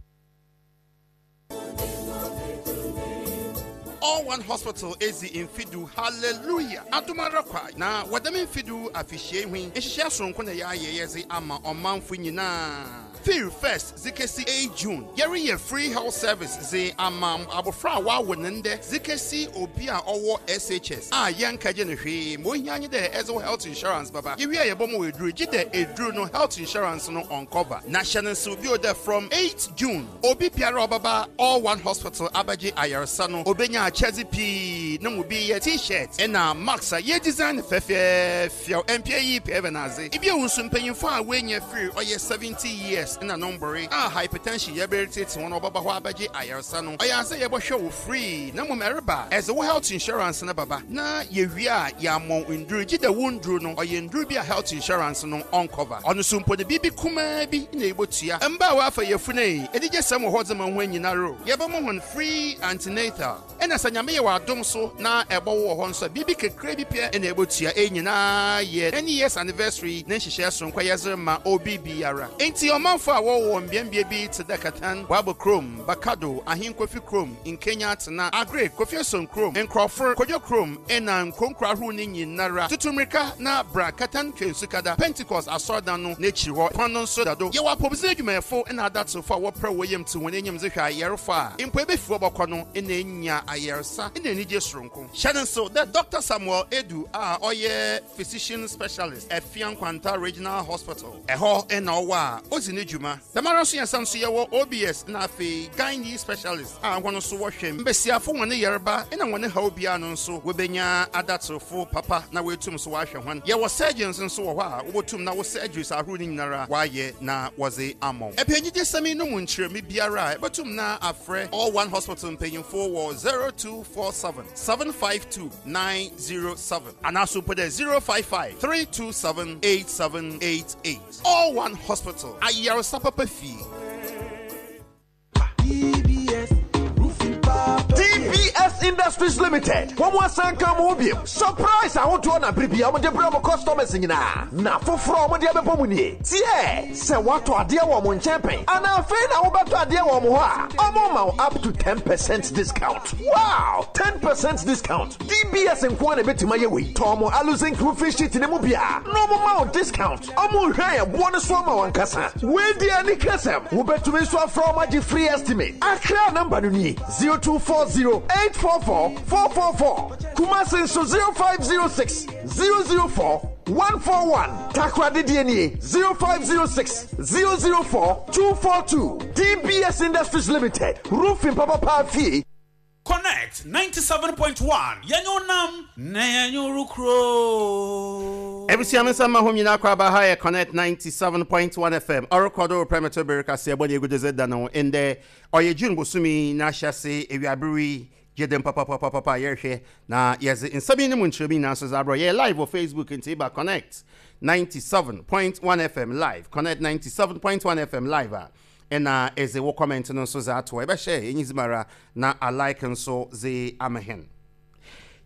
All One Hospital edzi mfe du, hallelujah! Adom ara kwa na wɔ dɛm mfe du afehyia yi ho yi, nhyehyɛɛ soronko na yɛayɛ yɛdze ama ɔmanfo nyina. Fir first dze kesi eight June, yɛreyɛ free health service dze ama abofra a wɔawo no ndɛ dze kesi obi a ɔwɔ SHS a yɛnnkɛgye no hwee. Ma ohia nye dɛ edze wo health insurance bɛba. Yewie a yɛbɔma wo edur, gyedɛ edur no health insurance no ɔnncover. Na hyɛ no nsew bio dɛ from eight June, Obi biara a ɔbɛba All One Hospital abɛgye ayarsa no, obenya akyɛdze pii. No mu bi yɛ T-shirt na masks a yeedesign no fɛfɛɛfɛw. Mpɛ iyi pɛ ebɛnadze? Bio so, mpanyimfo a woenya fir ɔyɛ 70 years na no mboree a hypertension yarba retseetsee hɔn a wɔbɛba hɔ abɛgye ayarsa no, ɔyɛ adze a yɛbɔhwɛ wo free na mbom ereba a, edze wo health insurance no bɛba na yewie a yɛama wo ndur. Gyedɛ wo ndur no ɔyɛ ndur bi a health insurance no ɔnncover. Ɔno so mpo no, biribi kumaa bi na ibotua. Mba a wɔafa yafun ei, enigyesɛm wɔ hɔ dze ma hɔn nyinara o. Yɛbɛma hɔn free antenatal. Nna sɛ Nyame yɛ w'adom so na ebɔwo wɔ hɔ nso a, biribi kakraa bi pɛ na ebotua. Iyi nyina yɛ ten years anniversary ne nhyehyɛɛ soronko a yɛdze rema obi biara. Ntsi ɔmanfo a wɔwɔ mbeambea bi tse dɛ Katan, Boabo Kurom, Bakado, Ahenkofi Kurom, Nkenya Atsena, Aggrey, Kofi Eson Kurom, Nkorɔfor, Kodwo Kurom, na nkurow nkurow ahorow no nyinara, tutu mbirika na bra Katan Twensukada Pentecost Asɔrdan no n'ekyir hɔ kwan no nso da do. Yɛwɔ apɔwmudzen edwumayɛfo na adatserfo a wɔprɛw hɔn yamu tse hɔn enyim dze hwɛ ayarfo a mpo ebefi hɔ bɔkɔ no na enya ayarsa na enyigye soronko. Hyɛ no nsew dɛ Dɔkta Samuel Adu a ɔyɛ Physician Specialist, Afia Nkwanta Regional Hospital, ɛhɔ na ɔwɔ a odzi ne dwuma. Dɛmara so yɛsan so yɛwɔ OBS na afei Gynae Specialist a hɔn so wɔhwɛ mbasiafo hɔn yarba na hɔn haw biara no nso wobenya adatserfo papa na woetum so wɔahwɛ hɔn. Yɛwɔ surgeons nso wɔ hɔ a wobotum na wo surgeries ahorow no nyinara wɔayɛ na wɔdze ama wo. Epɛ enyigyesɛm yi no mu nkyerɛmu biara a, ebotum na afrɛ All One Hospital mpanyimfo wɔ 0247 752 907 anaaso mpo dɛ 055 327 8788. All One Hospital, ayaresa papa fie. TBS Industries Limited wɔn asan ka wɔn ho biom surprise ahodoɔ na bere bia wɔde brɛ wɔn customers nyinaa na foforɔ a wɔde abɛbɔ mu nie tiɛ sɛ woatɔ adeɛ wɔ wɔn nkyɛn pɛn anaa afei na wobɛtɔ adeɛ wɔ wɔn hɔ a wɔn ma wo up to 10 percent discount wow 10 percent discount DBS nko ara na ebetumi ayɛ wei. Tɔn mo aluzinc roofing sheet no mu bi a na wɔn ma wo discount. Wɔn nhwɛ yɛn boɔ no so ama wɔn ankasa. Wei deɛ anikasɛm. Wobɛtumi nso afrɛ wɔn agye free estimate. Accra number no nie, 0240 844 444. Kumasi nso 0506 004 141. Takoradi deɛ nie, 0506 004 242. DBS Industries Limited, roofing papapa fie. Connect 97.1 Yɛnyɛ wo nam na yɛnyɛ wo kuro. Abusua me nsa mma hom nyina akɔ aba ha yɛ Connect 97.1 FM ɔrokɔ do repɛ me to ber kaseɛbɔ na egudo dze da no ndɛ ɔyɛ June bosoom yi n'ahyɛse ewiaber yi gye dem papapapapa yɛrehwɛ na yɛdze nsɛm yi no mu nkyerɛmu nyina so dze abrɛ yɛyɛ live wɔ Facebook ntsi ba Connect 97.1 FM live Connect 97.1 FM live a Nna edze wo comment no so dze ato hɔ, ebɛhyɛ enyidzi mu ara na a like nso dze ama hɛn.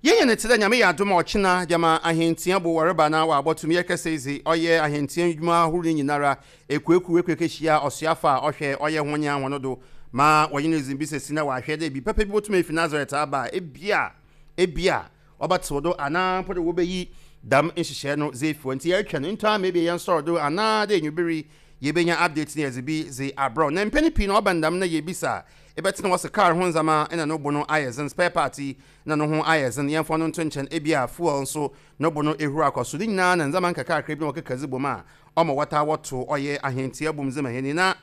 Yenya no tse dɛ Nyame yɛ adom a ɔkyena gyama ahɛntsia bo wɔreba na wɔabɔto mu yɛkɛsɛ yi dze ɔyɛ ahɛntsia ndwuma ahorow no nyinara ekuwekuw ekuekehyia ɔsoafo a ɔhwɛ ɔyɛ ho nye ahɔn do ma wɔnye no dzi mbisasi na wɔahwɛ dɛ bi papa bi botum efi Nazareth aba a ebia ebia wɔbɛtsew do anaa mpo dɛ wobeyi dɛm nhyehyɛɛ no dze efi hɔ. Ntsi yɛrotweɔn ntɔ ama ebia yɛnsɔr do anaa dɛ ewimbir yi yebenya update na yɛdze bi dze abrɛ wo. Na mpɛn pii no ɔba no dɛm na yebisa a, ebɛtse na wɔse kaar ho ndzɛmba na no bo no ayɛ dzen, spare part yi na no ho ayɛ dzen, yɛmfa ɔno nto nkyɛn, ebia fuel so no bo no ehur akɔ sor. Ne nyina na ndzɛmba nkakrankra bi na wɔkeka dze bɔ mu a ɔma wɔtaa wɔtow ɔyɛ ahɛntsia bɔ mu dze ma hɛn yi. Na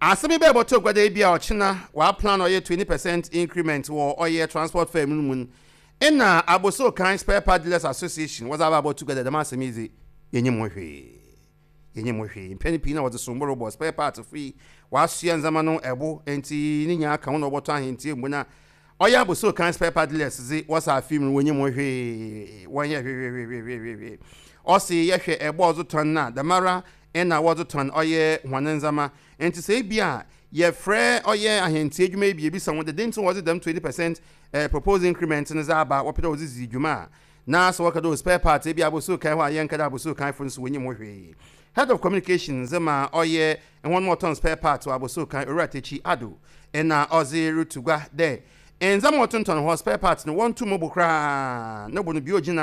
asɛm yi bɛbɔto gua dɛ ebia ɔkyena wɔaplan ɔyɛ 20 percent increment wɔ ɔyɛ transport fare no mu no, nna Abossey Okai Spare Part Dealers Association wɔdze aba abɔto gua dɛ dɛm asɛm yi dze yennyim ho hwee. Yennyim ho hwee. Mpɛn pii na wɔdze sombo robɔ spare part fo yi, wɔasoa ndzɛmba no bo ntsi ne nyinaa ka ho na wɔbɔtɔ ahentsia mu na ɔyɛ Abossey Okai Spare Part Dealers dze wɔsa afe mu no wonnyim ho hwee, wɔnnyɛ hwehwehwehwehwehwe. Ɔse yɛhwɛ ɛbɔ a ɔdze tɔn no a, dɛmara na wɔdze tɔn ɔyɛ hɔn ndzɛmba. Ntsi sɛ bi a yɛfrɛ ɔyɛ ahɛntsia edwuma yi bi yebisa hɔn dɛ dɛn ntsi na wɔdze dɛm 20% proposed increment no dze aba, wɔpɛ dɛ wɔdze dzi dwuma a, na sɛ wɔka dɛ oh spare parts ebi a abosuo-kan hɔ a yɛnka dɛ abosuo-kanfo no so wonyim ho hwee. Head of Communication dze ma ɔyɛ hɔn ma wɔtɔn spare parts wɔ abosuo-kan, Owura Takyi Addo na ɔdze rutu gua dɛ ndzɛmba a wɔtontɔn hɔ, spare parts no, wɔnnto mu bo koraa, no bo no bea ogyina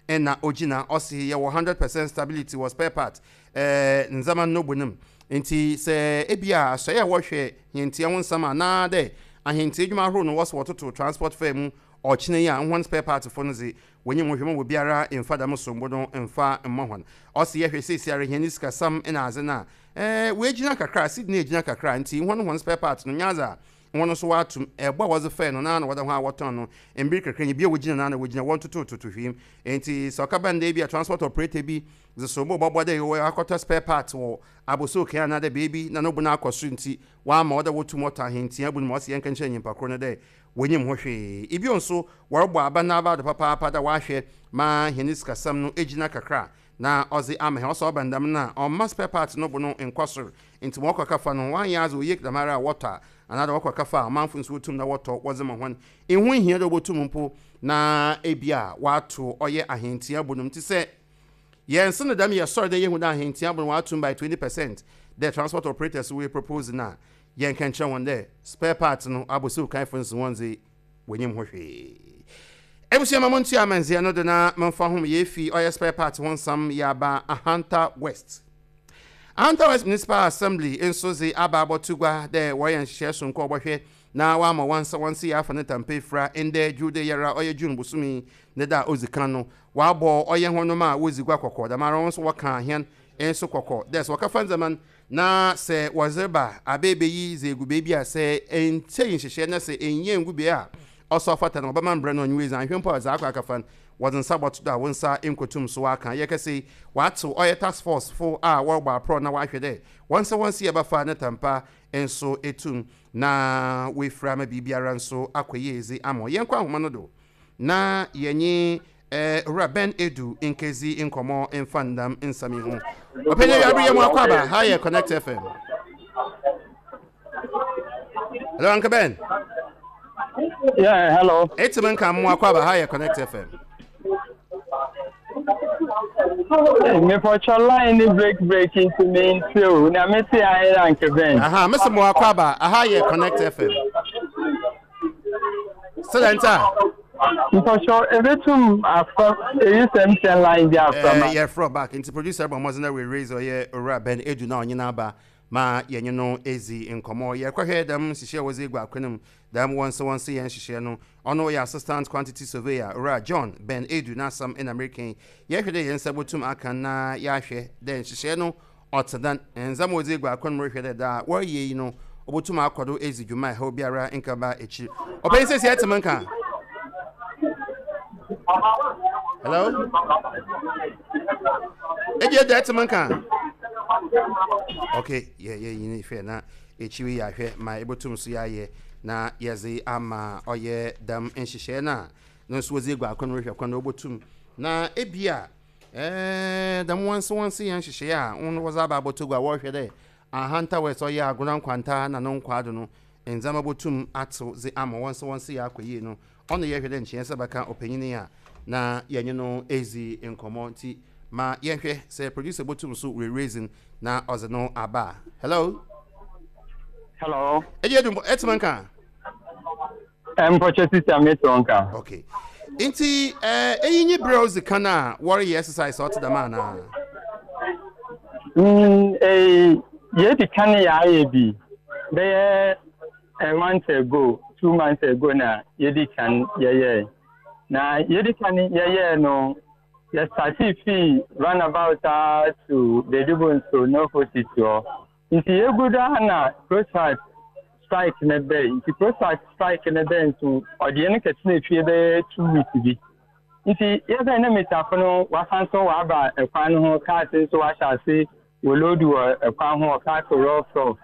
ara na ogyina. Ɔse yɛwɔ 100% stability wɔ spare part ndzɛmba no bo no mu, ntsi sɛ ebi a asɔe a wɔhwɛ hɛntua ho nsɛm anaadɛ ahɛntua edwuma ahorow no wɔse wɔtoto transport fare mu ɔkyena yi a, hɔn spare parts fo no dze wonyim ho hwɛ ma obiara mmfa dɛm sombo no mmfa mma hɔn. Ɔse yɛhwɛ seseiara hɛn sikasɛm na adze no a, woegyina kakra, cedi no egyina kakra, ntsi hɔn hɔn spare parts no nnyɛ adze a hɔn so wɔato mu. Bo a wɔdze fɛe no, noara na wɔda ho a wɔtɔn no, mber kakra nye bi a wogyina noara na wogyina, wɔnntotototo hwee mu. Ntsi sɛ ɔkɛba no dɛ bi a transport operator bi dze sombo bɔbɔ dɛ ɔakɔtɔ spare parts wɔ Abossey-Okai anaadɛ beebi na no bo no akɔ sor ntsi wɔama ɔdɛ wotum wɔtɔ ahentsia bu no ma ɔse yɛnka nkyerɛ nyimpa kor no dɛ wonyim ho hwee. Bio so, wɔrobɔ aban n'abaw do papaapa dɛ wɔahwɛ ma hɛn sikasɛm no egyina kakra na ɔdze ama hɛn. Ɔsɛ ɔba no dɛm no a, ɔmma spare parts no bo no nnkɔ sor. Ntsi ma wɔkɔ kɛfa no, wɔannyɛ adze oye dɛmara a wɔtɔ a, anaadɛ wɔkɔ kɛfa a ɔmamfo so wotum na wɔtɔ wɔdze ma hɔn. Nnho nnhia dɛ wobotum mpo na bi a wɔato ɔyɛ ahentsia bo no mu. Ntsi sɛ yɛnnse no dɛm, yɛsɔr dɛ yehu dɛ ahentsia bo no wɔato mu by 20% dɛ transport operators woepropose no a, Yɛnka nkyerɛ hɔn dɛ spare parts no abɔsiw kanfo no so hɔn dze wonyim ho hwee. Ebusua ma montua amandzɛɛ no do na momfa hom yeefi ɔyɛ spare parts ho nsɛm yɛaba Ahanta West. Ahanta West Municipal Assembly nso dze aba abɔto gua dɛ wɔreyɛ nhyehyɛɛ soronko a wɔbɔhwɛ na wɔama wɔansa hɔn se afa ne ntampa efura ndɛ Dwude yi ara ɔyɛ June bosoom yi ne da a odzi kan no. Wɔabɔ ɔyɛ hɔnnom a wodzi gua kɔkɔ dɛmara hɔn so wɔkaa hɛn nso kɔkɔ dɛ sɛ wɔkɛfa ndzɛmba no Na sɛ wɔdze reba a beebeyi dze egu beebi a sɛ enntsie nhyehyɛɛ na sɛ ennyia enngu bea a ɔsɔ ɔfata no, wɔbɛma mbrɛ no ɔnye wo edzi. Annhwɛ mpo a dza akɔ akɛfa no, wɔdze nsa bɔto do a wo nsa nnkotum so ɔakã. Yɛkɛse yi, wɔatsew ɔyɛ task force fo a wɔrobɔ aprɔw na wɔahwɛ dɛ hɔn nsa hɔn si yɛbɛfa ne tampa nso etum na woefura ama biribiara so akɔ yie dze ama wo. Yɛnkɔ ahoma no do na yɛnye Owura Ben Edu nkedzi nkɔmbɔ mfa ndam nsɛm yi ho. Ɔpanyin Awiabere yɛ mu akwaaba, ha yɛ Connect FM. Hello, Uncle Ben. Yeah, hello. Eti me nka mu akwaaba, ha yɛ Connect FM. Mepɔtɔ line ni break break nti me nti o na me te ayɛ Uncle Ben. Aha, mese mo akwaaba, aha yɛ Connect FM. Sɛdɛ nta. Mpɔtɔ ebetum afa eyi sɛ MTN line bi afra ma. Eh, yɛfrɛ back nti producer bɔ mmɔdzen na we raise ɔyɛ owura Ben Edu na ɔnye n'aba ma yɛnye no edzi nkɔmmɔ. Yɛrekɔhwɛ dɛm nhyehyɛɛ a wɔdze egu akwan mu, dɛm wɔnse wɔnse yɛn nhyehyɛɛ no. Ɔno ɔyɛ assistant quantity surveyor owura John Ben Edu n'asɛm na mereka yi. Yɛhwɛ dɛ hɛn nsa botum aka na yɛahwɛ dɛ nhyehyɛɛ no Ɔtse dɛn? Ndzɛmba a wɔdze egu akwan mu rohwɛ dɛ dza wɔreyɛ yi no obotum akɔ do edzi dwuma a haw biara nnkɛba ekyir. Ɔpanyin sesei etse me nka? Hello? Ebi edza etse me nka? Okay, yɛ yɛ yi ne hwɛ na ekyir yi yɛahwɛ ma ebotum so yɛayɛ na yɛdze ama ɔyɛ dɛm nhyehyɛɛ no a no nso wɔdze egu akwan mu rohwɛ kwan na obotum na ebia Ɛɛ, dɛm wɔnse-wɔnse yɛ nhyehyɛɛ a hɔn wɔdze aba abɔto gua a wɔrohwɛ dɛ Ahanta West ɔyɛ Agona Nkwanta na no nkwaa do no ndzɛmba botum atsew dze ama wɔnse-wɔnse yɛ akɔ yie no, ɔno yɛhwɛ dɛ nkyɛ hɛn nsa bɛka ɔpanyin yi a na yɛnye no edzi nkɔmbɔ ntsi ma yɛnhwɛ sɛ producer botum so oeruedzi no na ɔdze no aba a. Hello. Hello. Eyi edu etse me nka? Mpɔkyɛ sisi a mete wo nka. Okay. Nti eh, eyi nye berɛ a odzi kan a wɔreyɛ exercise a ɔte dɛm anaa? Mm, eh, yɛdi kan yɛayɛ bi bɛyɛ a month ago, 2 months ago na yɛdi kan yɛyɛɛ. Na yɛdi kan yɛyɛɛ no, yɛstartee fii roundabout a to Bedibo nso North hɔ. Nti yɛgu do a na CLOSAG strike no bɛn. Nti CLOSAG strike no bɛn nso ɔde yɛn kɛtena fie bɛyɛ 2 weeks bi. Nti yɛbɛn na mesafo no wasan so waba ɛkwan no ho, cars nso wahyɛ ase wɔ load wɔ ɛkwan ho wɔ cars rough rough.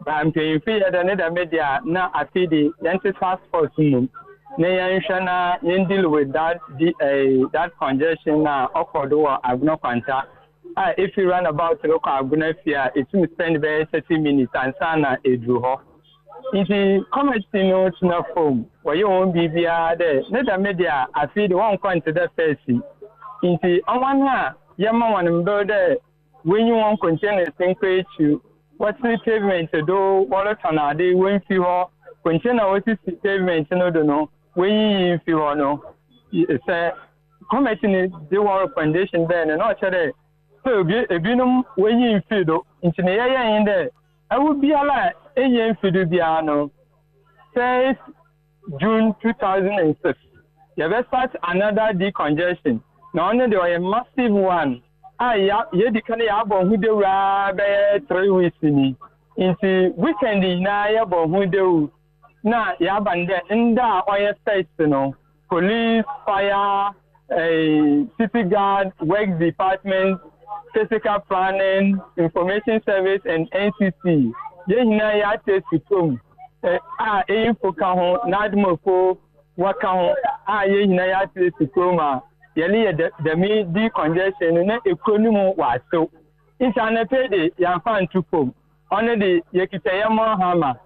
Ba mpanyinfo yɛ dɛ ne dɛm deɛ a na afei de yɛnte task force mmom. na yɛnhwɛ na yɛn deal with that di eh, that congestion na ɔkɔ do wɔ Agona Kwanta a efi roundabout rokɔ Agona fie a etum spend bɛyɛ 30 minutes ansaana edur hɔ. Ntsi committee no tsena famu, wɔyɛ hɔn biribiara dɛ ne dɛm de a afei de wɔnnkɔ nntse dɛ first yi. Ntsi hɔn a yɛma hɔn mber dɛ woenyi hɔn containers nkɔ ekyir, wɔtse pavement do wɔrotɔn ade womfi hɔ, container a osisi pavement no do no woenyiyi mfi hɔ no, sɛ committee no dze hɔn recommendation bae no na ɔkyerɛ dɛ sɛ obi binom woenyi mmfir do. Ntsi ne yɛyɛe nye dɛ Awo biara a enye mfe do biara no, first June 2006, yɛbɛ start another decongestion, na ɔno de ɔyɛ massive one a ya yɛdi kan yɛabɔ ho dawuru ara bɛyɛ 3 weeks ni. Nti weekend nyinaa yɛbɔ ho dawuru na yɛaba no dɛ nda a ɔyɛ first no, police, fire, eh, city guard, works department, physical planning, information service and NCC. Yɛn nyinaa yɛate asi kurom eh, a eyifo ka ho, NADMOfo wɔka ho a yɛn nyinaa yɛate asi kurom a yɛne yɛ dɛm decongestion no na ekuro no mu wɔasew. Nti anɔpɛ de yɛamfa nto fam. Ɔno de yɛkita yɛn mɔ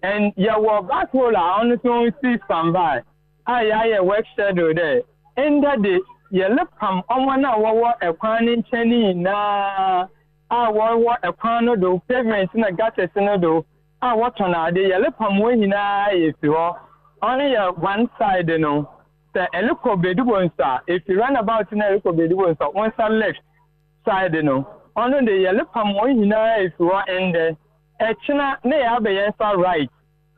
And yɛwɔ back hole a ɔno so si standby a yɛayɛ work schedule dɛ ndɛ de yɛrepam hɔn a wɔwɔ kwan ne nkyɛn no nyinaa a wɔwɔ kwan no do, pavement na gutters no do a wɔtɔn ade, yɛrepam hɔn nyinaa efi hɔ. Ɔno yɛ one side no. Sɛ erokɔ Bedibonsu a, efi roundabout no a erokɔ Bedibonsu a, wo nsa left side no, ɔno de yɛrepam hɔn nyinaa efi hɔ ndɛ. Ɛkyena na yɛaba yɛn nsa right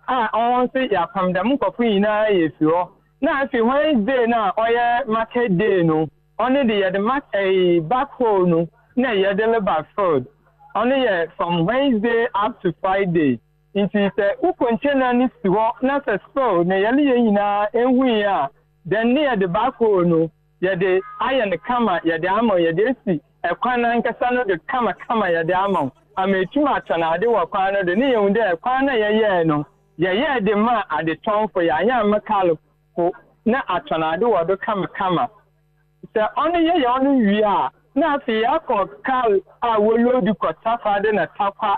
a ɔhɔ nso yɛapam dɛm nkorɔfo nyinaa efi hɔ na afei Wednesday no a ɔyɛ market day no ɔno de yɛde mark ɛyi back hole no na yɛde reba field ɔno yɛ from Wednesday up to Friday nti sɛ wo container no si hɔ na sɛ spill na yɛne yɛn nyinaa ehui a then ne yɛde back hole no yɛde ayɛ no kama yɛde ama wo, yɛde asi ɛkwan no ankasa no do kamakama yɛde ama wo ama etum atɔn ade wɔ kwan no do ne yehu dɛ kwan no a yɛyɛe no yɛyɛɛ de maa adetɔnfo yɛannyɛ amma kaarfo na atɔn ade wɔ do kamakama. Sɛ ɔno yɛyɛ ɔno wie a na afei yɛakɔ kaar a woloodu kɔ Takoradi na Tarkwa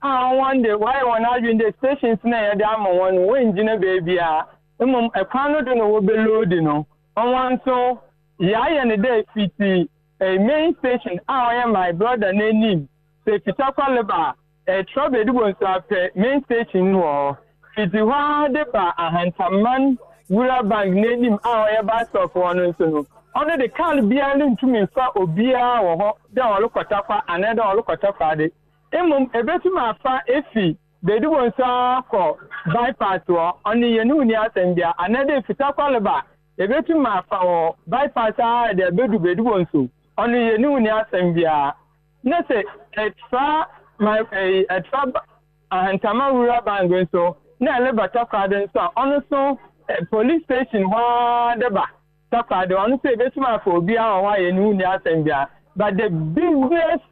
a hɔn de wɔayɛ hɔn adwen dɛ stations no a yɛde ama hɔn no wonngyina beebiara mbom kwan no do na wobeloodi no. Hɔn so yɛayɛ no dɛ fitsi main station a ɔyɛ my brother n'enyim, sɛ Fitakwa reba a, etra Bedibonsu a pɛ main station no wɔ hɔ. Fitsi hɔ ara de ba Ahantaman Wura Bank n'enyim a ɔyɛ bus stop hɔ no so no, ɔno de kaar biara runntum mmfa obiara wɔ hɔ dɛ ɔrokɔ Tarkwa anaa dɛ ɔrokɔ Takoradi. Mbom ebetum afa efi Bedibonsu ara kɔ bypass hɔ, ɔno yɛnye wo nni asɛm biara, anaa dɛ efi Tarkwa reba a, Yɛbɛtum afa wɔ bypass ara de abedu Bedibonso, ɔno yɛne wo nni asɛm biara. Na sɛ ɛtra my ɛyi ɛtra Ahantama Rural Bank nso na ɛreba Takoradi nso a, ɔno nso police station hɔ ara de ba Takoradi, ɔno nso yɛbɛtum afa obiara wɔ hɔ a yɛne wo nni asɛm biara. But the busiest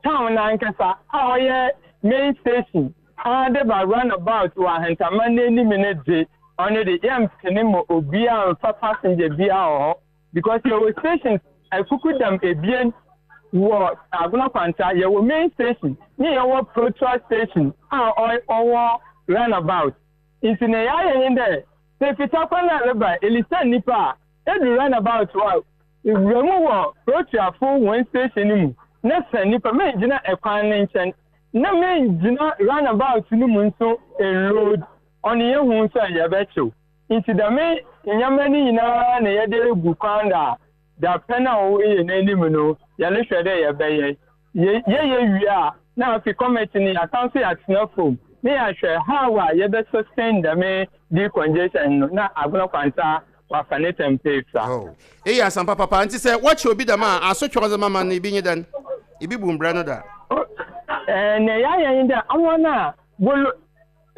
town no ankasa a ɔyɛ main station ara de ba run about wɔ Ahantaman no anim no dze, ɔno de yɛmmpene ma obiara mmfa passenger biara wɔ hɔ because yɛwɔ stations akukudam ebien wɔ Agona Kwanta, yɛwɔ main station ne yɛwɔ Protra station a ɔwɔ run about. Ntsi nea yɛayɛ nye dɛ sɛ fita kwan a ereba Elisa nyimpa a, Edu runabout hɔ a, wura mu wɔ Proteafo hɔn station no mu na sa nyimpa, menngyina kwan no nkyɛn na menngyina runabout no mu so nnload, ɔno yehu so a yɛbɛkyew. Ntsi dɛm ndzɛmba no nyina na yɛdze egu kwan do a dapɛn a ɔwɔ hɛn enyim no yɛrohwɛ dɛ yɛbɛyɛ. Yɛyɛ wie a, na afei committee no yɛasan so yɛatsena famu na yɛahwɛ how a yɛbɛ sustain dɛm decongestion no na Agona Kwanta Wafa ne tɛmpɛ efura. Oh, eyi asɛmpa papa. Ntsi sɛ wɔkye obi dɛm a, asotwe a ɔdze ma man no, ibi nye dɛn? Ibi bu mbra no da? Oh, eh, nea yɛayɛ nye dɛ hɔn a wolo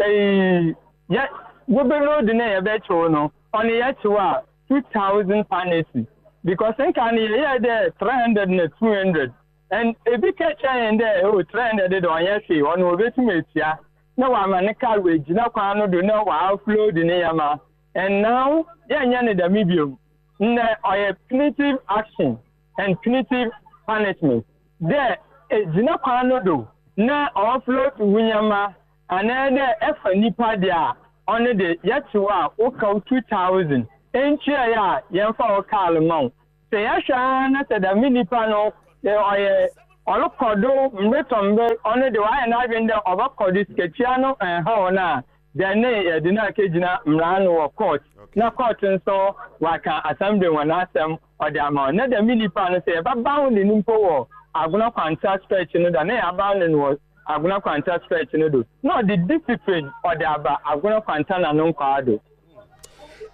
eh, yɛ wobeload na yɛbɛkyew no, ɔno yɛkyew a 2000 panesi. Because nka no yɛyɛɛ dɛ 300 na 200. And ebi ka kyerɛ hɛn dɛ, oh, 300 de ɔnnyɛ hwee, ɔno obetum etua. Na ɔama ne kaar oegyina kwan no do na ɔaoffload ne ndzɛmba. And now yɛnnyɛ no dɛm bio. Ndɛ ɔyɛ punitive action and punitive punishment dɛ egyina kwan no do na ɔoffload wo ndzɛmba anaa dɛ efa nyimpa de a, ɔno de yɛtse wo a wo kaw 2000 nntuae a yɛmmfa wo kaar mma wo. Sɛ yɛhwɛ ara na sɛ dɛm nyimpa no ɔyɛ ɔrokɔ do mber tɔ mber, ɔno de ɔayɛ n'adwen dɛ ɔbɔkɔ do, sikatua no nnhaw no a, dɛn ne yɛdze no akegyina mbra ano wɔ court na court nso ɔaka assembly hɔn asɛm ɔdze ama hɔn. Na dɛm nyimpa no sɛ yɛbɛbound no mpo wɔ Agona Kwanta stretch no do a, na yɛabound no wɔ Agona Kwanta stretch no do na ɔdze discipline ɔdze aba Agona Kwanta na no nkwaa do.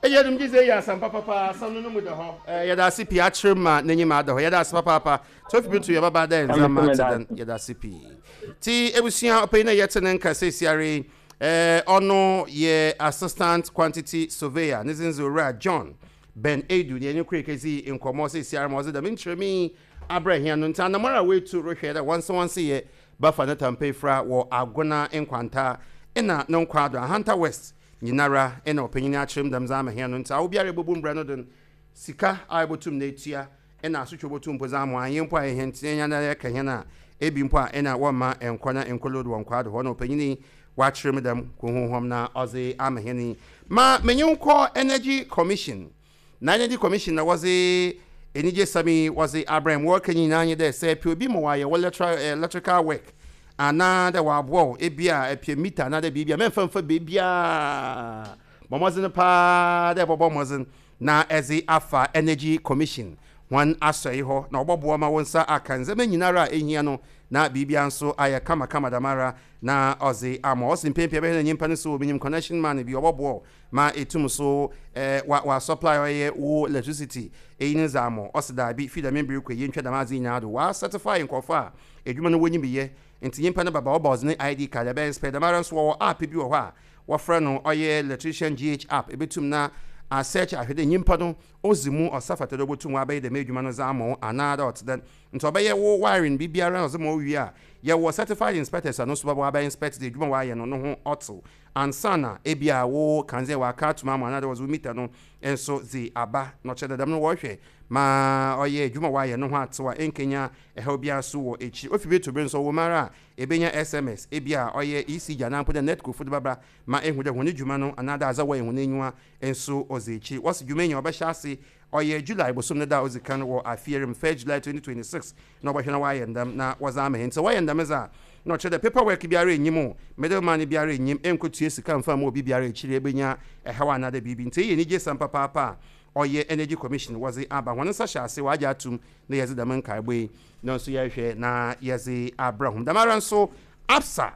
Eyi adum gye sɛ eyi asɛm papapa asɛm no no mu da hɔ. Eh, yɛda ase pii akyerɛ ma n'enyim ada hɔ. Yɛda ase papaapa. Tofi bi to yɛ baba dɛ ndzɛmba tse dɛn. Yɛda ase pii. Tsi ebusua ɔpanyin a yɛtse ne nka sesiara yi, eh, ɔno yɛ assistant quantity surveyor, ne dzin dze Owura John Ben Adu na yɛnye kor ekedzi nkɔmbɔ sesiara ma ɔdze dɛm nkyerɛmu yi abrɛ hɛn no. Ntsi anamɔn a woetu rohwɛ dɛ wɔnse wɔnse yɛ bɛfa ne tampa efura wɔ Agona Nkwanta na no nkwaado, Ahanta West nyinara na ɔpanyin akyerɛ mu dɛm dze ama hɛn no, ntsi awo biara ebobu mbra no do no, sika a ebotum na etua na asotwe obotum mpo dze ama wo, annyɛ mpo a hɛn tse hɛn ara yɛka hɛn a, ebi mpo a nna wɔmma nnkɔ na nnkɔ load wɔ nkwaa do hɔ na ɔpanyin yi ɔakyerɛ mu dɛm huhuhɔm na ɔdze ama hɛn yi. Ma menye wo nkɔ Energy Commission. Na Energy Commission na wɔdze enyigyesɛm yi wɔdze abrɛ hɛn. Ma wɔreka nyina nye dɛ sɛ epɛ obi ma ɔayɛ wo electrical work anaa dɛ ɔaboa wo bi a epɛ meter anaa dɛ biribi a, mɛmmfa mmfa beebiara. Bɔ mbɔdzen paa dɛ ebɔbɔ mbɔdzen na edze afa Energy Commission hɔn asɔɛe hɔ na wɔbɔboa wo ma wo nsa aka ndzɛmba nyinara a ehia no na biribiara so ayɛ kamakama dɛmara na ɔdze ama wo. Ɔse mpɛn pii ebɛhwɛ na nyimpa no so minyim connection man bi ɔbɔboa wo ma etum so wa wa supply ɔyɛ wo electricity eyi ne dza ama wo. Ɔse daabi fi dɛm mber kɔ yi yentwa dɛm adze yi nyinaa do. Wɔa certify nkorɔfo a edwuma no wonyim yɛ ntsi nyimpa no bɛba wɔba ɔdze ne ID card ɛbɛ inspect dɛmara so wɔwɔ app bi wɔ hɔ a wɔfrɛ no ɔyɛ electrician GH app ebetum na a search ahwɛ dɛ nyimpa no odzi mu ɔsa fata dɛ obotum ɔabɛyɛ dɛm edwuma no dze ama wo anaa dɛ ɔtse dɛn ntsi ɔbɛyɛ wo wiring biribiara ɔdze ma wo wie a yɛwɔ certified inspectors a no so bɛba wɔabɛ inspect dɛ edwuma wɔayɛ no no ho ɔtsew ansaana ebia wo kandzea wɔaka ato mu ama wo anaadɛ wɔdze wo meter no so dze aba na ɔkyerɛ dɛ dɛm no wɔhwɛ ma ɔyɛ edwuma wɔayɛ no ho atsew a ennkenya haw biara so wɔ ekyir. Ofi ber to ber so ɔwɔ mu ara a ebenya SMS, ebia ɔyɛ ECG anaa mpo dɛ Netco fo dze bɛba ma ehu dɛ hɔn dwuma no anaadɛ adze a wɔyɛ hɔn enyiwa so ɔdze ekyir. Wɔse dwuma yi nyia ɔbɛhyɛ ase ɔyɛ July bosoom ne da a odzi kan wɔ afe yi mu, first July 2026, na wɔbɔhwɛ na wɔayɛ ndɛm na wɔdze ama hɛn. Ntsi sɛ wɔyɛ ndɛm dze a, nna ɔkyerɛ dɛ paper work biara nnyi mu, middle man biara nnyi mu, ennkotua sika mmfa mma obi biara ekyir ebenya haw anaadɛ biribi. Ntsi iyi yɛ enyigyesɛm papaapa a ɔyɛ Energy Commission wɔdze aba. Hɔn nsa hyɛ ase, wɔagye ato mu na yɛdze dɛm nkaabɔ yi no so yɛhwɛ na yɛdze abrɛ hom. Dɛmara so Absa,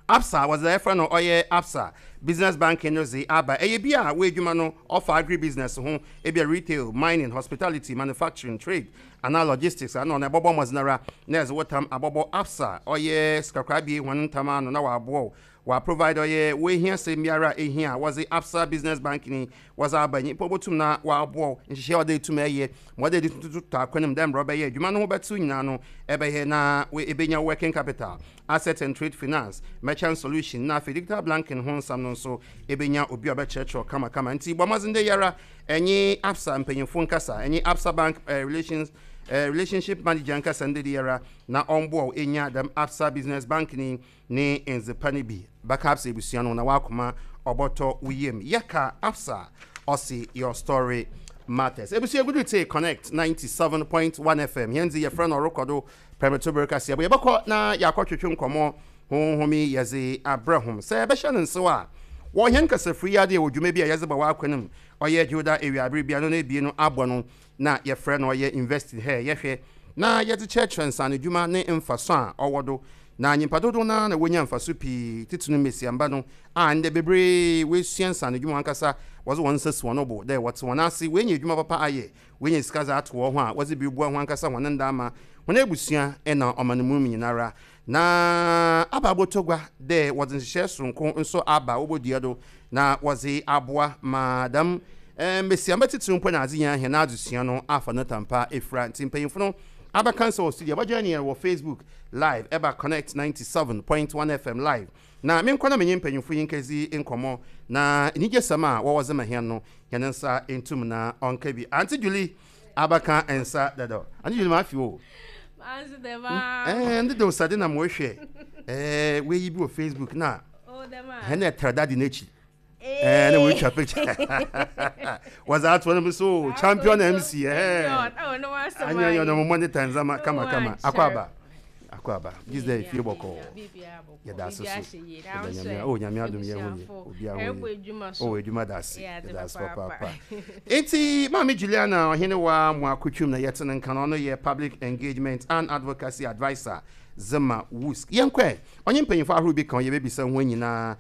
Absa, wɔdze dza yɛfrɛ no ɔyɛ Absa Business Banking no dze aba. Ɛyɛ bi a w'edwuma no ɔfa agribusiness ho, ebia retail, mining, hospitality, manufacturing, trade, anaa logistics a, nna ɔno ebɔbɔ mbɔdzen ara na edze wo tam abɔbɔ Absa ɔyɛ sikakorabea yi hɔn ntam ano na wɔaboa wo Wɔa provide ɔyɛ wo ehiasɛm biara a ehia a wɔdze Absa Business Banking yi wɔdze aba. Nyimpa obotum na ɔaboa wo nhyehyɛɛ a ɔdɛ etum ɛyɛ ma ɔdɛ edze totɔ akwan mu dɛ mbrɛ ɔbɛyɛ edwuma no ho bɛtsew nyina no ebɛyɛ na ebenya wo working capital, asset and trade finance, merchant solution na afei digital blanking ho nsɛm no nso ebenya obi a ɔbɛkyerɛkyerɛ wo kamakama. Ntsi bɔ mbɔdzen dɛ yi ara enye Absa mpanyimfo nkasa, enye Absa Bank relations relationship manager nkasa ndɛ yi ara na ɔmboa wo enya dɛm Absa Business Banking yi Ne ndzepa no bi bɛka Absa ebusua no na w'akoma ɔbɔtɔ wo yamu. Yɛka Absa a, ɔse your story matters. Ebusua egudu tse Connect 97.1 FM. Hɛn dze yɛfrɛ no ɔrokɔ do prɛmto ber kaseɛbɔ. Yɛbɔkɔ na yɛakɔtwetwe nkɔmbɔ honhom yi yɛdze abrɛ hom. Sɛ yɛbɛhyɛ no nsew a, wɔ hɛn kasafir yi ara do yɛwɔ dwuma bi a yɛdze ba w'akwan mu. Ɔyɛ Dwowda ewiaber biara no n'ebien no abɔ no na yɛfrɛ no ɔyɛ Invest in Her, yɛhwɛ na yɛdze kyerɛkyerɛ nsaanodwuma ne mfaso a ɔwɔ do, na nyimpa dodow no ara na wonya mfaso pii, tsitsir no mbasiamba no a ndɛ beberee woesua nsaanodwuma ankasa, wɔdze hɔn nsa si hɔn bo dɛ wɔtse hɔn ase, woenya edwuma papa ayɛ, woenya sika dze ato hɔn ho a wɔdze bi roboa hɔnankasa hɔn ndaama, hɔn ebusua na ɔman mu nyinara. Na aba abɔtɔ gua dɛ wɔdze nhyehyɛɛ soronko so aba a wobodua do na wɔdze aboa ma dɛm mbasiamba tsitsir mpo na adze nyina hɛn adzesua no afa no tampa efura. Ntsi mpanyimfo no Abɛka nsa wɔ studio. Bɛjoin yɛn wɔ Facebook live ɛba Connect 97.1 FM live. Na menkɔ na menye mpanyimfo yi nkedzi nkɔmbɔ na enyigyesɛm a wɔwɔ dze ma hɛn no, hɛn nsa ntum na ɔnka bi. Auntie Julie abɛka nsa dadaw. Auntie Julie, mafe wo o. Manso dɛm aa. Eh, ndeda osade na mohwɛ eh, weyi bi wɔ Facebook na Oh, dɛm a. hɛn na ɛtra daddy n'ekyir. Eh, na wɔatwa picture. Wɔdze ato no so champion MC. Eh. Anya yɛ no mo ne tanzama kama kama. Akɔ aba. Akɔ aba. This day fie bɔkɔ. Yɛda ase so. Yɛda nyame. Oh, nyame adom yɛ ho ye. Obi a ho ye. Oh, adwuma da ase. Yɛda ase papaapa. Enti Maame Juliana Ɔhenewa Moakotwum na yɛte ne nka no ɔno yɛ Public Engagement and Advocacy Advisor Zema WUSC. Yɛnkɔ ɛ. Ɔnye mpanyimfo ahorow bi ka ho yɛbɛbisa ho nyinaa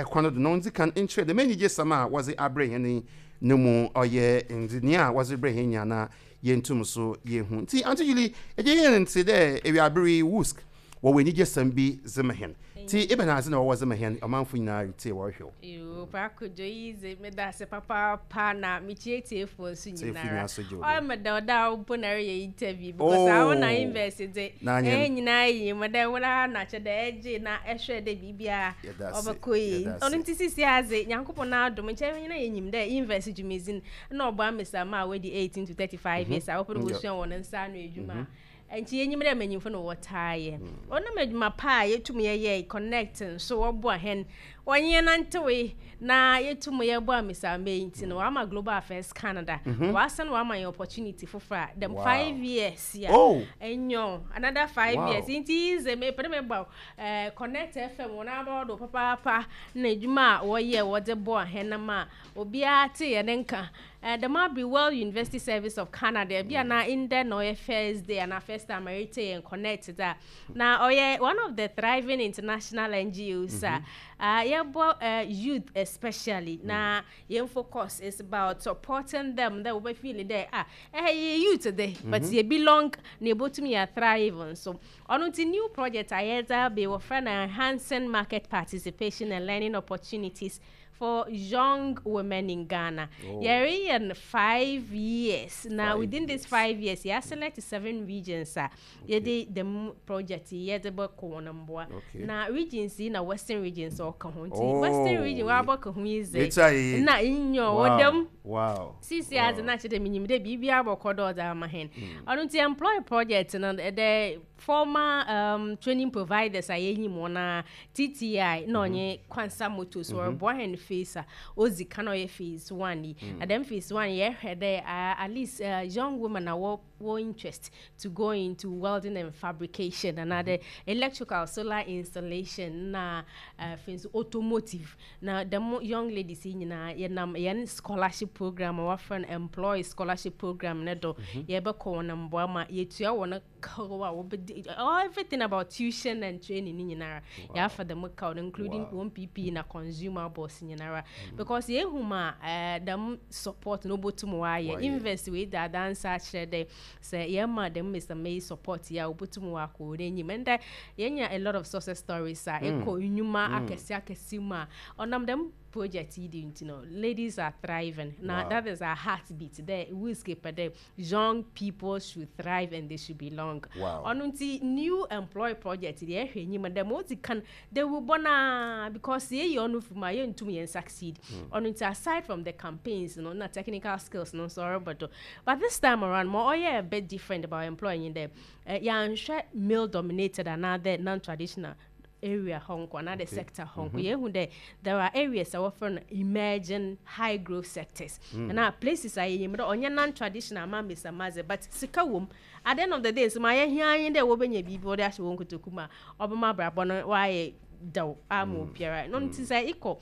kwan no do na ondzi kan nkyerɛ dɛm enyigyesɛm a wɔdze abrɛ hɛn yi no mu ɔyɛ ndze nyia wɔdze brɛ hɛn nyina na yenntum so yeehu. Ntsi Aunty Julie, egye hɛn ntse dɛ ewiaber yi WUSC wɔwɔ enyigyesɛm bi dze ma hɛn. Ntsi ebɛnadze na wɔwɔ dze ma hɛn? Ɔmamfo nyina ritsie wɔrohwɛ wo. Yoo, Paa Kojo iyi dze meda ase papaapa na mekyia etiefoɔ nso Tsiefo nyinara. nyina so gye wo do. Ɔyɛ me dɛw dɛ awo mpo na ereyɛ interview because awo na Oh! invest dze N'anyɛn. hɛn nyinaa nyim dɛ woara na kyerɛ dɛ ɛgye na ɛhwɛ dɛ biribiara Yɛda ase, ɔbɛkɔ yie. yɛda Ɔno ase. ntsi sesei dze Nyankopɔn n'adom nkyɛ hɛn nyina yenyim dɛ invest dwumadzi no nna ɔboa mbasiamba a woedi 18 to 35 years a wɔpɛ dɛ wosua hɔn nsa ano edwuma a, nkyɛ yenyim dɛ mbanyimfo na wɔtaa yɛ. Ɔnam edwuma pa a yetum yɛyɛe, connect so wɔboa hɛn, wɔnye hɛn nantsewee na yetum yɛboa mbasiamba yi ntsi no wɔama Global Affairs Canada wɔasan wɔama hɛn opportunity fofor a dɛm 5 years yi a, nyew, another 5 years ntsi iyi dze mepɛ dɛ mebɔ Eh, Connect FM wɔn abɔ do papaapa na edwuma a wɔyɛ wɔdze boa hɛn ma obiara tse hɛn nka. Eh, dɛm aber World University Service of Canada, bi a na ndɛ na ɔyɛ first day anaa first time a eretsie hɛn Connect dze a, na ɔyɛ one of the thriving international NGOs a ah, yɛbɔ eh, youth especially na hɛn focus is about supporting them dɛ wɔbɛ feel dɛ ah, eh, yɛyɛ youth de, but yɛ belong na yebotum yɛ thrive nso. Ɔno ntsi new project a yɛdze aba yi wɔfrɛ no Enhancing Market Participation and Learning Opportunities for Young Women in Ghana. Oh. Yɛreyɛ no 5 years na Five within this 5 years yɛaselect seven regions a yɛde dɛm project yi yɛdze bɔkɔ hɔn mboa. Na regions yi na Western regions ɔka ho ntsi Western region wɔabɔka ho yi dze Yɛtwa yie. na nyew Wow. dɛm Sisi adze na kyerɛ dɛ minyim dɛ biribiara bɔkɔ do ɔdze ama hɛn. Ɔno ntsi employ project no the former training providers a yenyim hɔn a, TTI na ɔnye Kwansa Motors wɔroboa hɛn phase a odzi kan a ɔyɛ phase one yi. Na dɛm phase one yi yɛhwɛ dɛ at least young women a wɔ wɔ interest to go into welding and fabrication anaadɛ electrical, solar installation na afei nso automotive. Na dɛm young ladies yi nyina yɛnam hɛn scholarship program a wɔafrɛ no Employ Scholarship Program no do, yɛbɔkɔ hɔn mboa ma yetua hɔn kaw a wɔbɛdi, everything about tuition and training ne nyinara, yɛafa dɛm kaw no including hɔn PPE na consumables nyinara. Because yehu ma dɛm support no obotum ɔayɛ. Invest wei dzi adanse akyerɛ dɛ sɛ yɛma dɛm mbasiamba yi support yi a obotum ɔakɔ hɔn enyim. Ndɛ yenya a lot of success stories a ekɔ nnwuma akɛse akɛse mu a ɔnam dɛm project yi do ntsi no ladies are thriving na that is our heartbeat dɛ WUSC pɛ dɛ young people should thrive and they should belong. Ɔno ntsi new employ project deɛ yɛhwɛ enyim dɛ ma odzi kan dawurbɔ no ara because sɛ yeyi ɔno fi mu a yenntum yɛn succeed. Ɔno ntsi aside from the campaigns no na technical skills no nso ɔrobɔ do but this time around ma ɔyɛ a bit different about employ nye dɛ yɛannhwɛ male dominated anaadɛ non traditional area hɔ nko anaadɛ sector hɔ nko. Yehu dɛ there are areas a wɔfrɛ no emerging high growth sectors anaa places a yenyim dɛ ɔnnyɛ non traditional ama mbasiamba dze but sika wɔ mu. At the end of the day nso ma yɛhia ara nye dɛ wobenya biribi wɔdze ahyɛ hɔn kotoku mu a ɔbɛma abrabɔ no ɔayɛ dɛw ama obiara. No ntsi sɛ ekɔ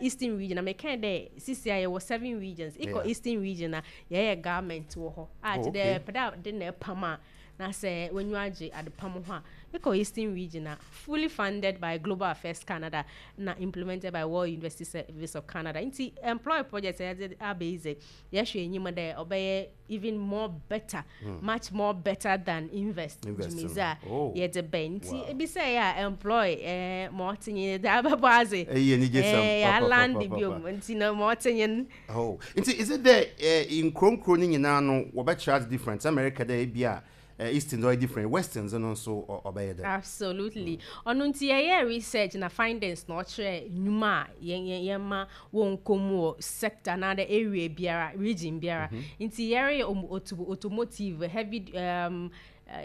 Eastern region a mekãe dɛ sisi a yɛwɔ seven regions, ekɔ Eastern region a yɛyɛ garment wɔ hɔ a kyerɛ dɛ epɛ dɛ ade na epam a na sɛ w'enyiwa gye adepam ho a, ekɔ Eastern region a, fully funded by Global Affairs Canada na implemented by World University Service of Canada. Ntsi employ project a yɛdze aba yi dze, yɛhwɛ enyim dɛ ɔbɛyɛ even more better, much more better than invest dwumadzi a yɛdze bae. Ntsi ebisa yi a employ eh, ma ɔtse nye dze abɛbɔ adze. Eyi anigyesɛm Eh, yɛaland papapapapa. biom ntsi no ma ɔtse nye n'. Oh, nti is it dɛ eh, nkuro nkuro no nyinaa no wɔbɛkyerɛ adze different? Sɛ America dɛ ebi a. Eastern dze ɔyɛ different, Western dze no nso ɔbɛyɛ dɛn? Absolutely. Ɔno ntsi yɛyɛɛ research na findings na ɔkyerɛɛ nnwuma a yɛma wɔnkɔ mu wɔ sector anaadɛ area biara, region biara. Ntsi yɛreyɛ automotive, heavy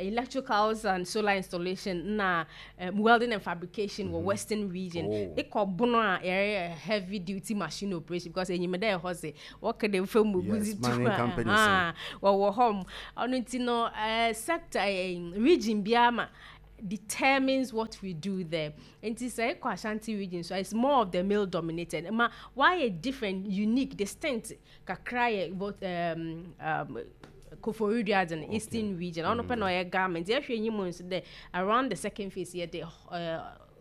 electricals and solar installation na welding and fabrication wɔ Western region. Ekɔ Bono a, yɛreyɛ heavy duty machine operation because enyim dɛ ɛhɔ dze wɔka dɛ famu egudzi tu mining a, companies no. Wɔwɔ hɔ. Ɔno ntsi no sector region biara ma determines what we do there. Nti sɛ ekɔ Ashanti region so, it's more of the male dominated. Ma wayɛ different, unique, distinct kakra yɛ both Koforidua dze no, Eastern region. Ɔno pɛ na ɔyɛ garment. Yɛhwɛ enyim nso dɛ around the second phase yɛde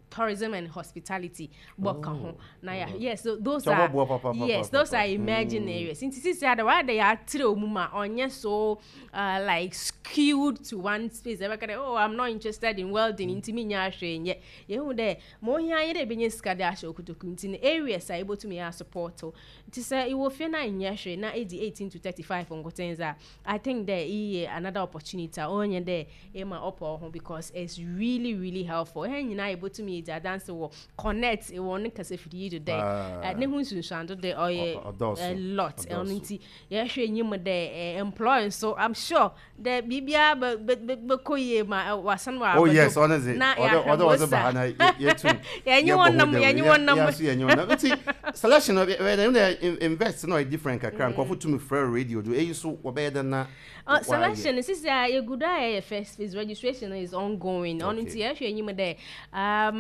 tourism and hospitality bɔka ho. Na ya yes, so those Sɛ are wɔboa papa, papa, yes, those papa. are emerging areas. Nti sisi ada wayɛ dɛ yɛatrɛ mu ma ɔnyɛ so like skewed to one space. Ɛbɛka dɛ, "Oh, I'm not interested in welding," nti mi nya ahwɛ nyɛ. Yɛhu dɛ ma ohia yɛ dɛ ebɛnya sika de ahyɛ okotoku nti no areas a yɛbɛtumi yɛ support o. Nti sɛ ìwɔ fie na nyɛ hwee na edi 18 to 35 nkoten dza, I think dɛ iyi yɛ another opportunity a ɔnyɛ dɛ ema ɔpɔ ho because it's really, really helpful. Ɛhɛn nyinaa yɛbɛtumi yɛdzi adanse wɔ Connect wɔ ne kasafidie yi do dɛ ne ho nsunsuando dɛ ɔyɛ Ɔdɔɔso. a lot. Ɛno Ɔdɔɔso. nti yɛhwɛ enyim dɛ employ nso, I'm sure dɛ biribiara bɛ bɛ bɛ bɛkɔ yie ma wasan wɔ Oh yes, ɔno dze na ɔdɔ yɛahwɛ ɔdɔ ɔdze ba ha na yɛtum yɛnye yɛbɔ wɔn ho nam dawuro. yɛnye wɔn nam. Yɛ so yɛnye wɔn nam. Nti selection no bɛ bɛ dɛ invest no ɔyɛ different kakra. Nkurɔfo tumi frɛ radio do, eyi so wɔbɛyɛ dɛ na wɔayɛ. Selection sisi a yɛgu do a yɛyɛ first phase registration is ongoing. Ɔno nti yɛhwɛ enyim dɛ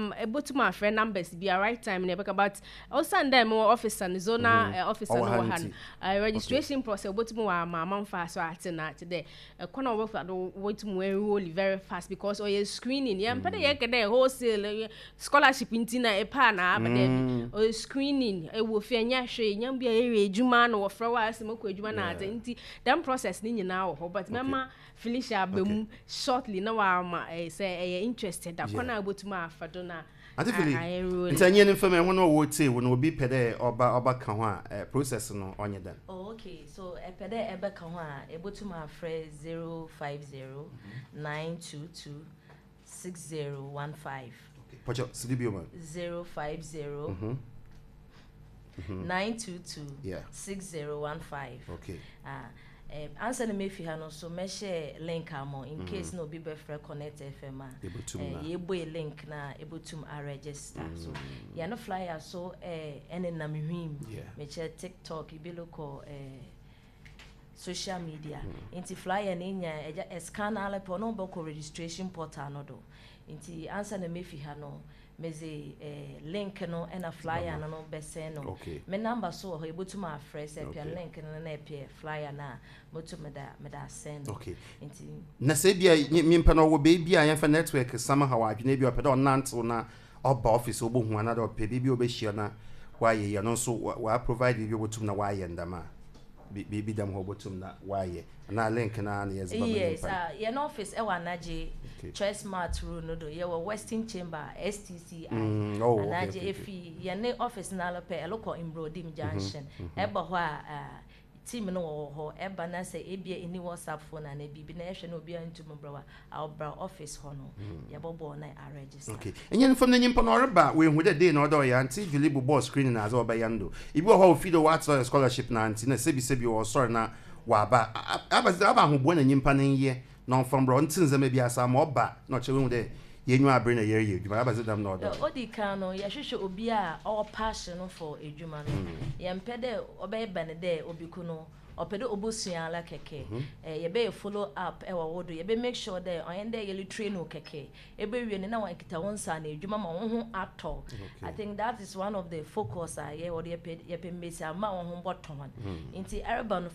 ebotum afrɛ numbers bi a right time na yɛbɛka, but ɔsan dɛ mewɔ officer no, zonal officer no Ɔwɔ ha wɔ ha nti. no, registration process obotum wɔ ama amanfo so ate na ate dɛ ɛkwan a wɔbɛfa do wɔtum wɔ enroll very fast because ɔyɛ screening. Yɛmpɛ dɛ yɛkɛ dɛ wholesale scholarship nti na ɛpa na aba dɛ bi ɔyɛ screening. Ɛwɔ fie nyɛ hwee nyɛ bi a yɛyɛ adwuma na wɔfrɛ wɔ asɛm kɔ adwuma na adze nti dɛm process ne nyinaa wɔ hɔ, but mɛma Felicia aba mu shortly na wama sɛ ɛyɛ interested a, kwan a wobɛtumi afa do na Ante Fili, a enroll. Nti ɛnyɛ ne mfam ɛho na ɔwɔ tie wo no, obi pɛ dɛ ɔba ka ho a, process no ɔnyɛ dɛn? Oh, okay. So, ɛpɛ dɛ ɛbɛka ho a, ɛbɛtum afrɛ 050 922 6015. Pɔkyɛ sidi bio ma. 050 922 6015. Ah, ansa na mefi ha no so mɛhyɛ link ama in case na obi bɛfrɛ Connect FM a Yɛbɛtum na. Yɛbue link na ɛbɛtum aregister so yɛno flyer so ɛne nam hwim mekyerɛ TikTok ebi lokɔ social media nti flyer no nya ɛgya ɛscan ala pɛ ɔno bɛkɔ registration portal no do. Nti ansa na mefi ha no medze link no ɛna flyer no bɛsɛn no. Me number so wɔ hɔ, yɛbɛtum afrɛ sɛ ɛpɛ link no na ɛpɛ flyer no a motum meda asɛn no. Nti Na sɛ ebia nyimpa no ɔwɔ beebi a yɛmfa network somehow adwene bi a ɔpɛ dɛ ɔnantew na ɔba office ɔbɛhu anaadɛ ɔpɛ biribi a ɔbɛhyia na wayɛ yi, ɔno nso wa provide biribi a ɔbɛtum na wayɛ ndɛm a biribi dɛm hɔ ɔbɛtum na wayɛ anaa link na yɛdze bɛma Yes. nyimpa no. Yɛn office ɛwɔ Anagye Choice Mart road no do, yɛwɔ Western Chamber STCI. Oh, okay, Anagye efi yɛne office no alɔpɛ ɛlokɔ Mbrodim Junction ɛba hɔ a, team no wɔ hɔ. Ɛba na sɛ ebia ɛni WhatsApp phone ana biribi na ɛhwɛ na obiara ntum brɛ wa a, ɔbra office hɔ no yɛbɔbɔ na aregister. Okay, ɛnyɛ nfam na nyimpa no ɔreba wehu dɛ day na ɔdɛ ɔyɛ Auntie Julie bobɔɔ screen na adze ɔbɛyɛ no do. Ebi wɔ hɔ a ofi do wɔatwerɛ scholarship na nti na sɛbi ɔsɔre na waba aba aba ahoboa na nyimpa no nyɛ na ɔmfa mbrɛ ɔnte ndzɛmba bi asa ama ɔba na ɔkyerɛ wehu dɛ yɛnwa abere na yɛreyɛ adwuma aba dze dɛm na ɔdɔ. Odi kan no yɛhwehwɛ obi a ɔwɔ passion no for edwuma no. Yɛmpɛ dɛ ɔbɛyɛ no dɛ obi ko no ɔpɛ dɛ obosua ala kɛkɛ. Yɛbɛyɛ follow up ɛwɔ wo do, yɛbɛ make sure dɛ ɔyɛ dɛ yɛle train wo kɛkɛ ɛbɛwie no na wankita wo nsa na edwuma ma wo ho atɔ. I think that is one of the focus a yɛwɔ do. Yɛpɛ mmesi ama wɔn ho bɔtɔ wɔn nti ɛreba no.